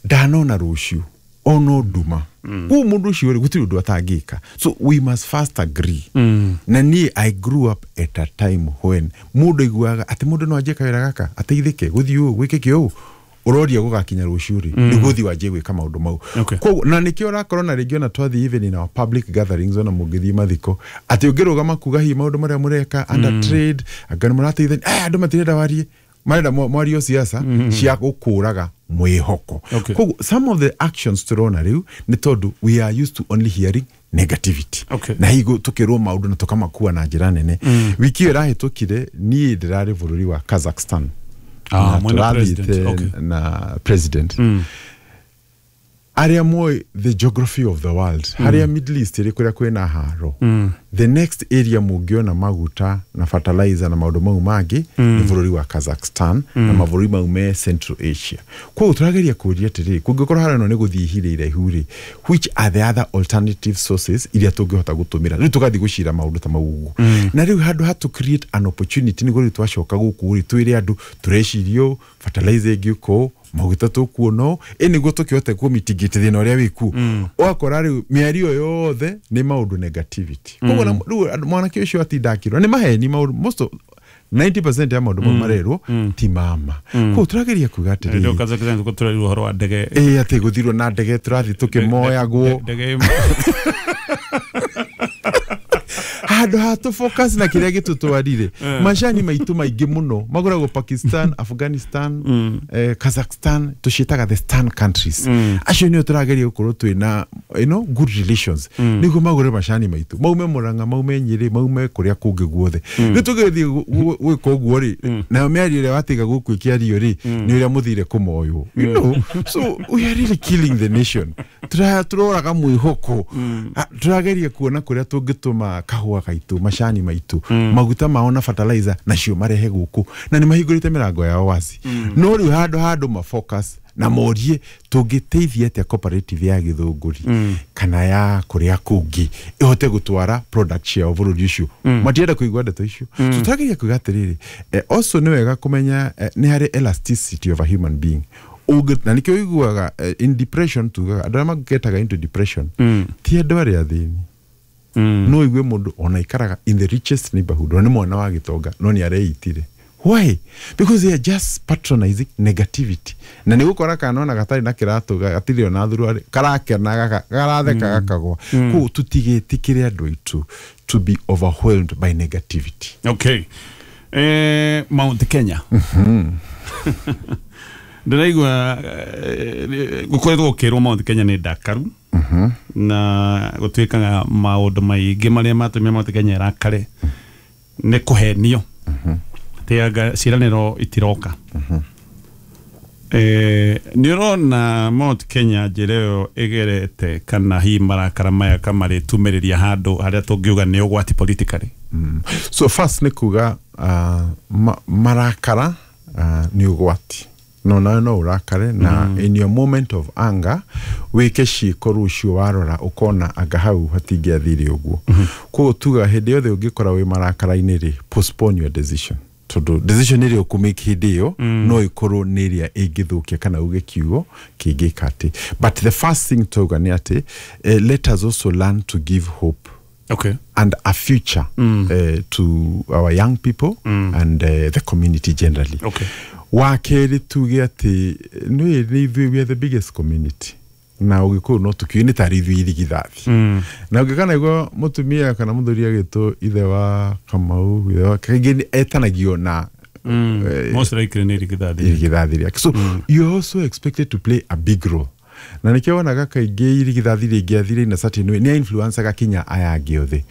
ndanona rũciũ ono nduma. Koguo mũndũ ũcio rĩ, gũtirĩ ũndũ atangĩka. So we must first agree. Na niĩ I grew up at a time when mũndũ aiguaga atĩ mũndũ no anjie kawĩra gaka ateithĩke gũthiĩ ũũ gwĩkĩke ũũ, ũroria gũgakinya rũciũ rĩ, nĩguo ũthiĩ wanjie gwĩka maũndũ mau. Koguo na nĩkĩo ũrakorwo na rĩngĩ ona twathiĩ even in our public gatherings, ona mũngĩthiĩ mathiko, atĩ ũngĩrũgama kuga hihi maũndũ marĩa mũreka under trade, anga nĩ mũrateithania, andũ matirenda warie, marenda mwario siasa cia gũkũraga mwĩhoko. Koguo some of the actions tũrona rĩu nĩ tondũ we are used to only hearing negativity. Na higo tukĩrwo maũndũ na tũkamakua na njĩra nene. Wiki ĩyo ĩrahĩtũkire niĩ ndĩrarĩ bũrũri wa Kazakhstan. Ah, na mwena president. tũrathiĩte na president. Arĩa moĩ the geography of the world, harĩa Middle East ĩrĩ kũrĩa kwĩna haro, the next area mũngĩona maguta na fertilizer na maũndũ mau mangĩ nĩ bũrũri wa Kazakhstan na mabũrũri mau me Central Asia. Koguo tũrageria kũria atĩrĩrĩ, kũngĩkorwo harĩa ĩno nĩ gũthiĩ ihinda iraihu rĩ, which are the other alternative sources iria tũngĩhota gũtũmĩra? Rĩu tũgathiĩ gũcira maũndũ ta mau ũguo. Na rĩu handũ ha to create an opportunity nĩguo rĩu twacoka gũkũ rĩ, twĩre andũ tũreciria ũũ, fertilizer ĩngĩũka ũũ, maguta tũkuona ũũ, ĩ nĩguo tũkĩhote kũmitigate thĩna ũrĩa wĩkuo. Ũgakora rĩu mĩario yothe nĩ maũndũ negativity. Koguo rĩu mwanake ũcio atinda akĩrwo nĩ maheni maũndũ, most of 90% ya maũndũ mau marerwo ti mama. Koguo tũrageria kuga Rĩu atĩrĩrĩ, Kazakhstan tũrerirwo ũhoro wa ndege. Ĩ atĩ gũthirwo na ndege tũrathiĩ tũkĩmoyagwo. Ndege ĩmwe. Handũ ha tũ focus na kĩrĩa gĩtũtwarire, macani maitũ maingĩ mũno magũragwo Pakistan, Afghanistan, Kazakhstan, tũciĩtaga the stan countries. Acio nĩo tũrageria gũkorwo twĩna good relations nĩguo magũre macani maitũ, maume Murang'a, maume Nyĩrĩ, maume kũrĩa kũngĩ guothe. Rĩu tũgĩthiĩ gwĩka ũguo rĩ, nayo mĩario ĩrĩa watiga gũkũ ĩkĩario rĩ, nĩ ũrĩa mũthire kũmoywo. So we are really killing the nation. Tũroraga mwĩhoko. Tũrageria kuona kũrĩa tũngĩtũma kahũa gaitũ, macani maitũ, maguta mao na fertilizer nacio marehe gũkũ, na nĩ mahingũrĩte mĩrango yao waci. No rĩu handũ ma focus na morie tũngĩteithia atĩa cooperative ya Gĩthũngũri kana ya kũrĩa kũngĩ ĩhote gũtwara product ciao bũrũri ũcio, matienda kũigua ndeto icio. So tũrageria kuga atĩrĩrĩ, also nĩ wega kũmenya nĩ harĩ elasticity of a human being. Na nĩkĩo ũiguaga in depression, tugaga andũ arĩa magetaga into depression ti andũ arĩa athĩni. No igue mũndũ ona ikaraga in the richest neighborhood, ona nĩ mwana wa gĩtonga, no nĩ areitire. Why? Because they are just patronizing negativity. Na nĩ gũkora kana ona gatarĩ na kĩratũ, gatirĩ ona thuruarĩ, karakena, garatheka, gakagwa. Koguo tũtigĩtĩkĩre andũ aitũ to be overwhelmed by negativity. Okay. Mount Kenya. Ndĩraigua gũkoretwo gũkĩrwo Mount Kenya nĩ ndakaru, na gũtuĩkaga maũndũ maingĩ marĩa matũmire Mount Kenya ĩrakare nĩ kũhenio atĩ anga ciĩranĩro itiroka. Nĩ ũrona Mount Kenya njĩra ĩyo ĩgerete, kana hihi marakara maya kamarĩtumĩrĩria handũ harĩa tũngiuga nĩ ũgwati politically? So first nĩ kuga marakara nĩ ũgwati. No nawe no ũrakare na in your moment of anger wĩke ciĩko rũciũ warora ũkona anga hau hatingĩathire ũguo. Koguo tuga hĩndĩ yothe ũngĩkora wĩ marakara-inĩ rĩ, postpone your decision, tondũ decision ĩrĩa ũkũmake hĩndĩ ĩyo no ĩkorwo nĩ ĩrĩa ĩngĩthũkia kana uge kiugo kĩngĩka atĩ. But the first thing tauga nĩ atĩ let us also learn to give hope and a future to our young people and the community generally. Wa kerĩ tuge atĩ nĩ ithuĩ we are the biggest community, na ũgĩkũyũ no tũkiũĩ nĩ tarĩ ithuĩ irigithathi. Na ũngĩkana igua mũtumia kana mũthuri agĩtwo ithe wa Kamau, ithe wa kaingĩ etanagio na Most likely nĩ irigithathi. Irigithathi rĩake. So you are also expected to play a big role, na nĩkĩo wonaga kaingĩ irigithathi rĩngĩathire in a certain way nĩ influencaga kinya aya angĩ othe.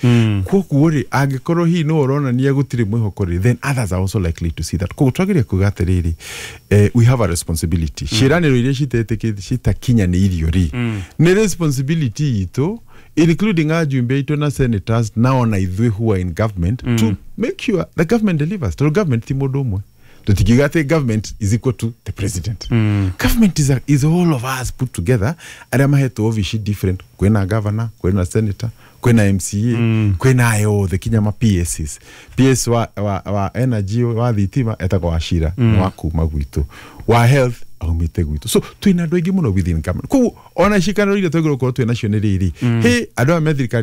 Koguo rĩ, angĩkorwo hihi no ũronania gũtirĩ mwĩhoko rĩ, then others are also likely to see that. Koguo twagĩrĩire kuga atĩrĩrĩ, we have a responsibility. Ciĩranĩro iria citetĩkĩte citakinyanĩirio rĩ, nĩ responsibility itũ, including ajumbe aitũ na senators na ona ithuĩ who are in government, to make sure the government delivers, tondũ government ti mũndũ ũmwe. Tũtingiuga atĩ government is equal to the president. Government is all of us put together, arĩa mahetwo obici different. Kwĩna governor, kwĩna senator, kwĩna MCA, kwĩna aya othe kinya ma PSs. PS wa energy, wa thitima, etagwo Wachira. Nĩ wa kuma gwitũ, wa health aumĩte gwitũ, so twĩna andũ aingĩ mũno within government. Koguo ona cikanĩro iria twagĩrĩirwo gũkorwo twĩ nacio nĩ rĩrĩ, hĩ andũ aya me thirikari.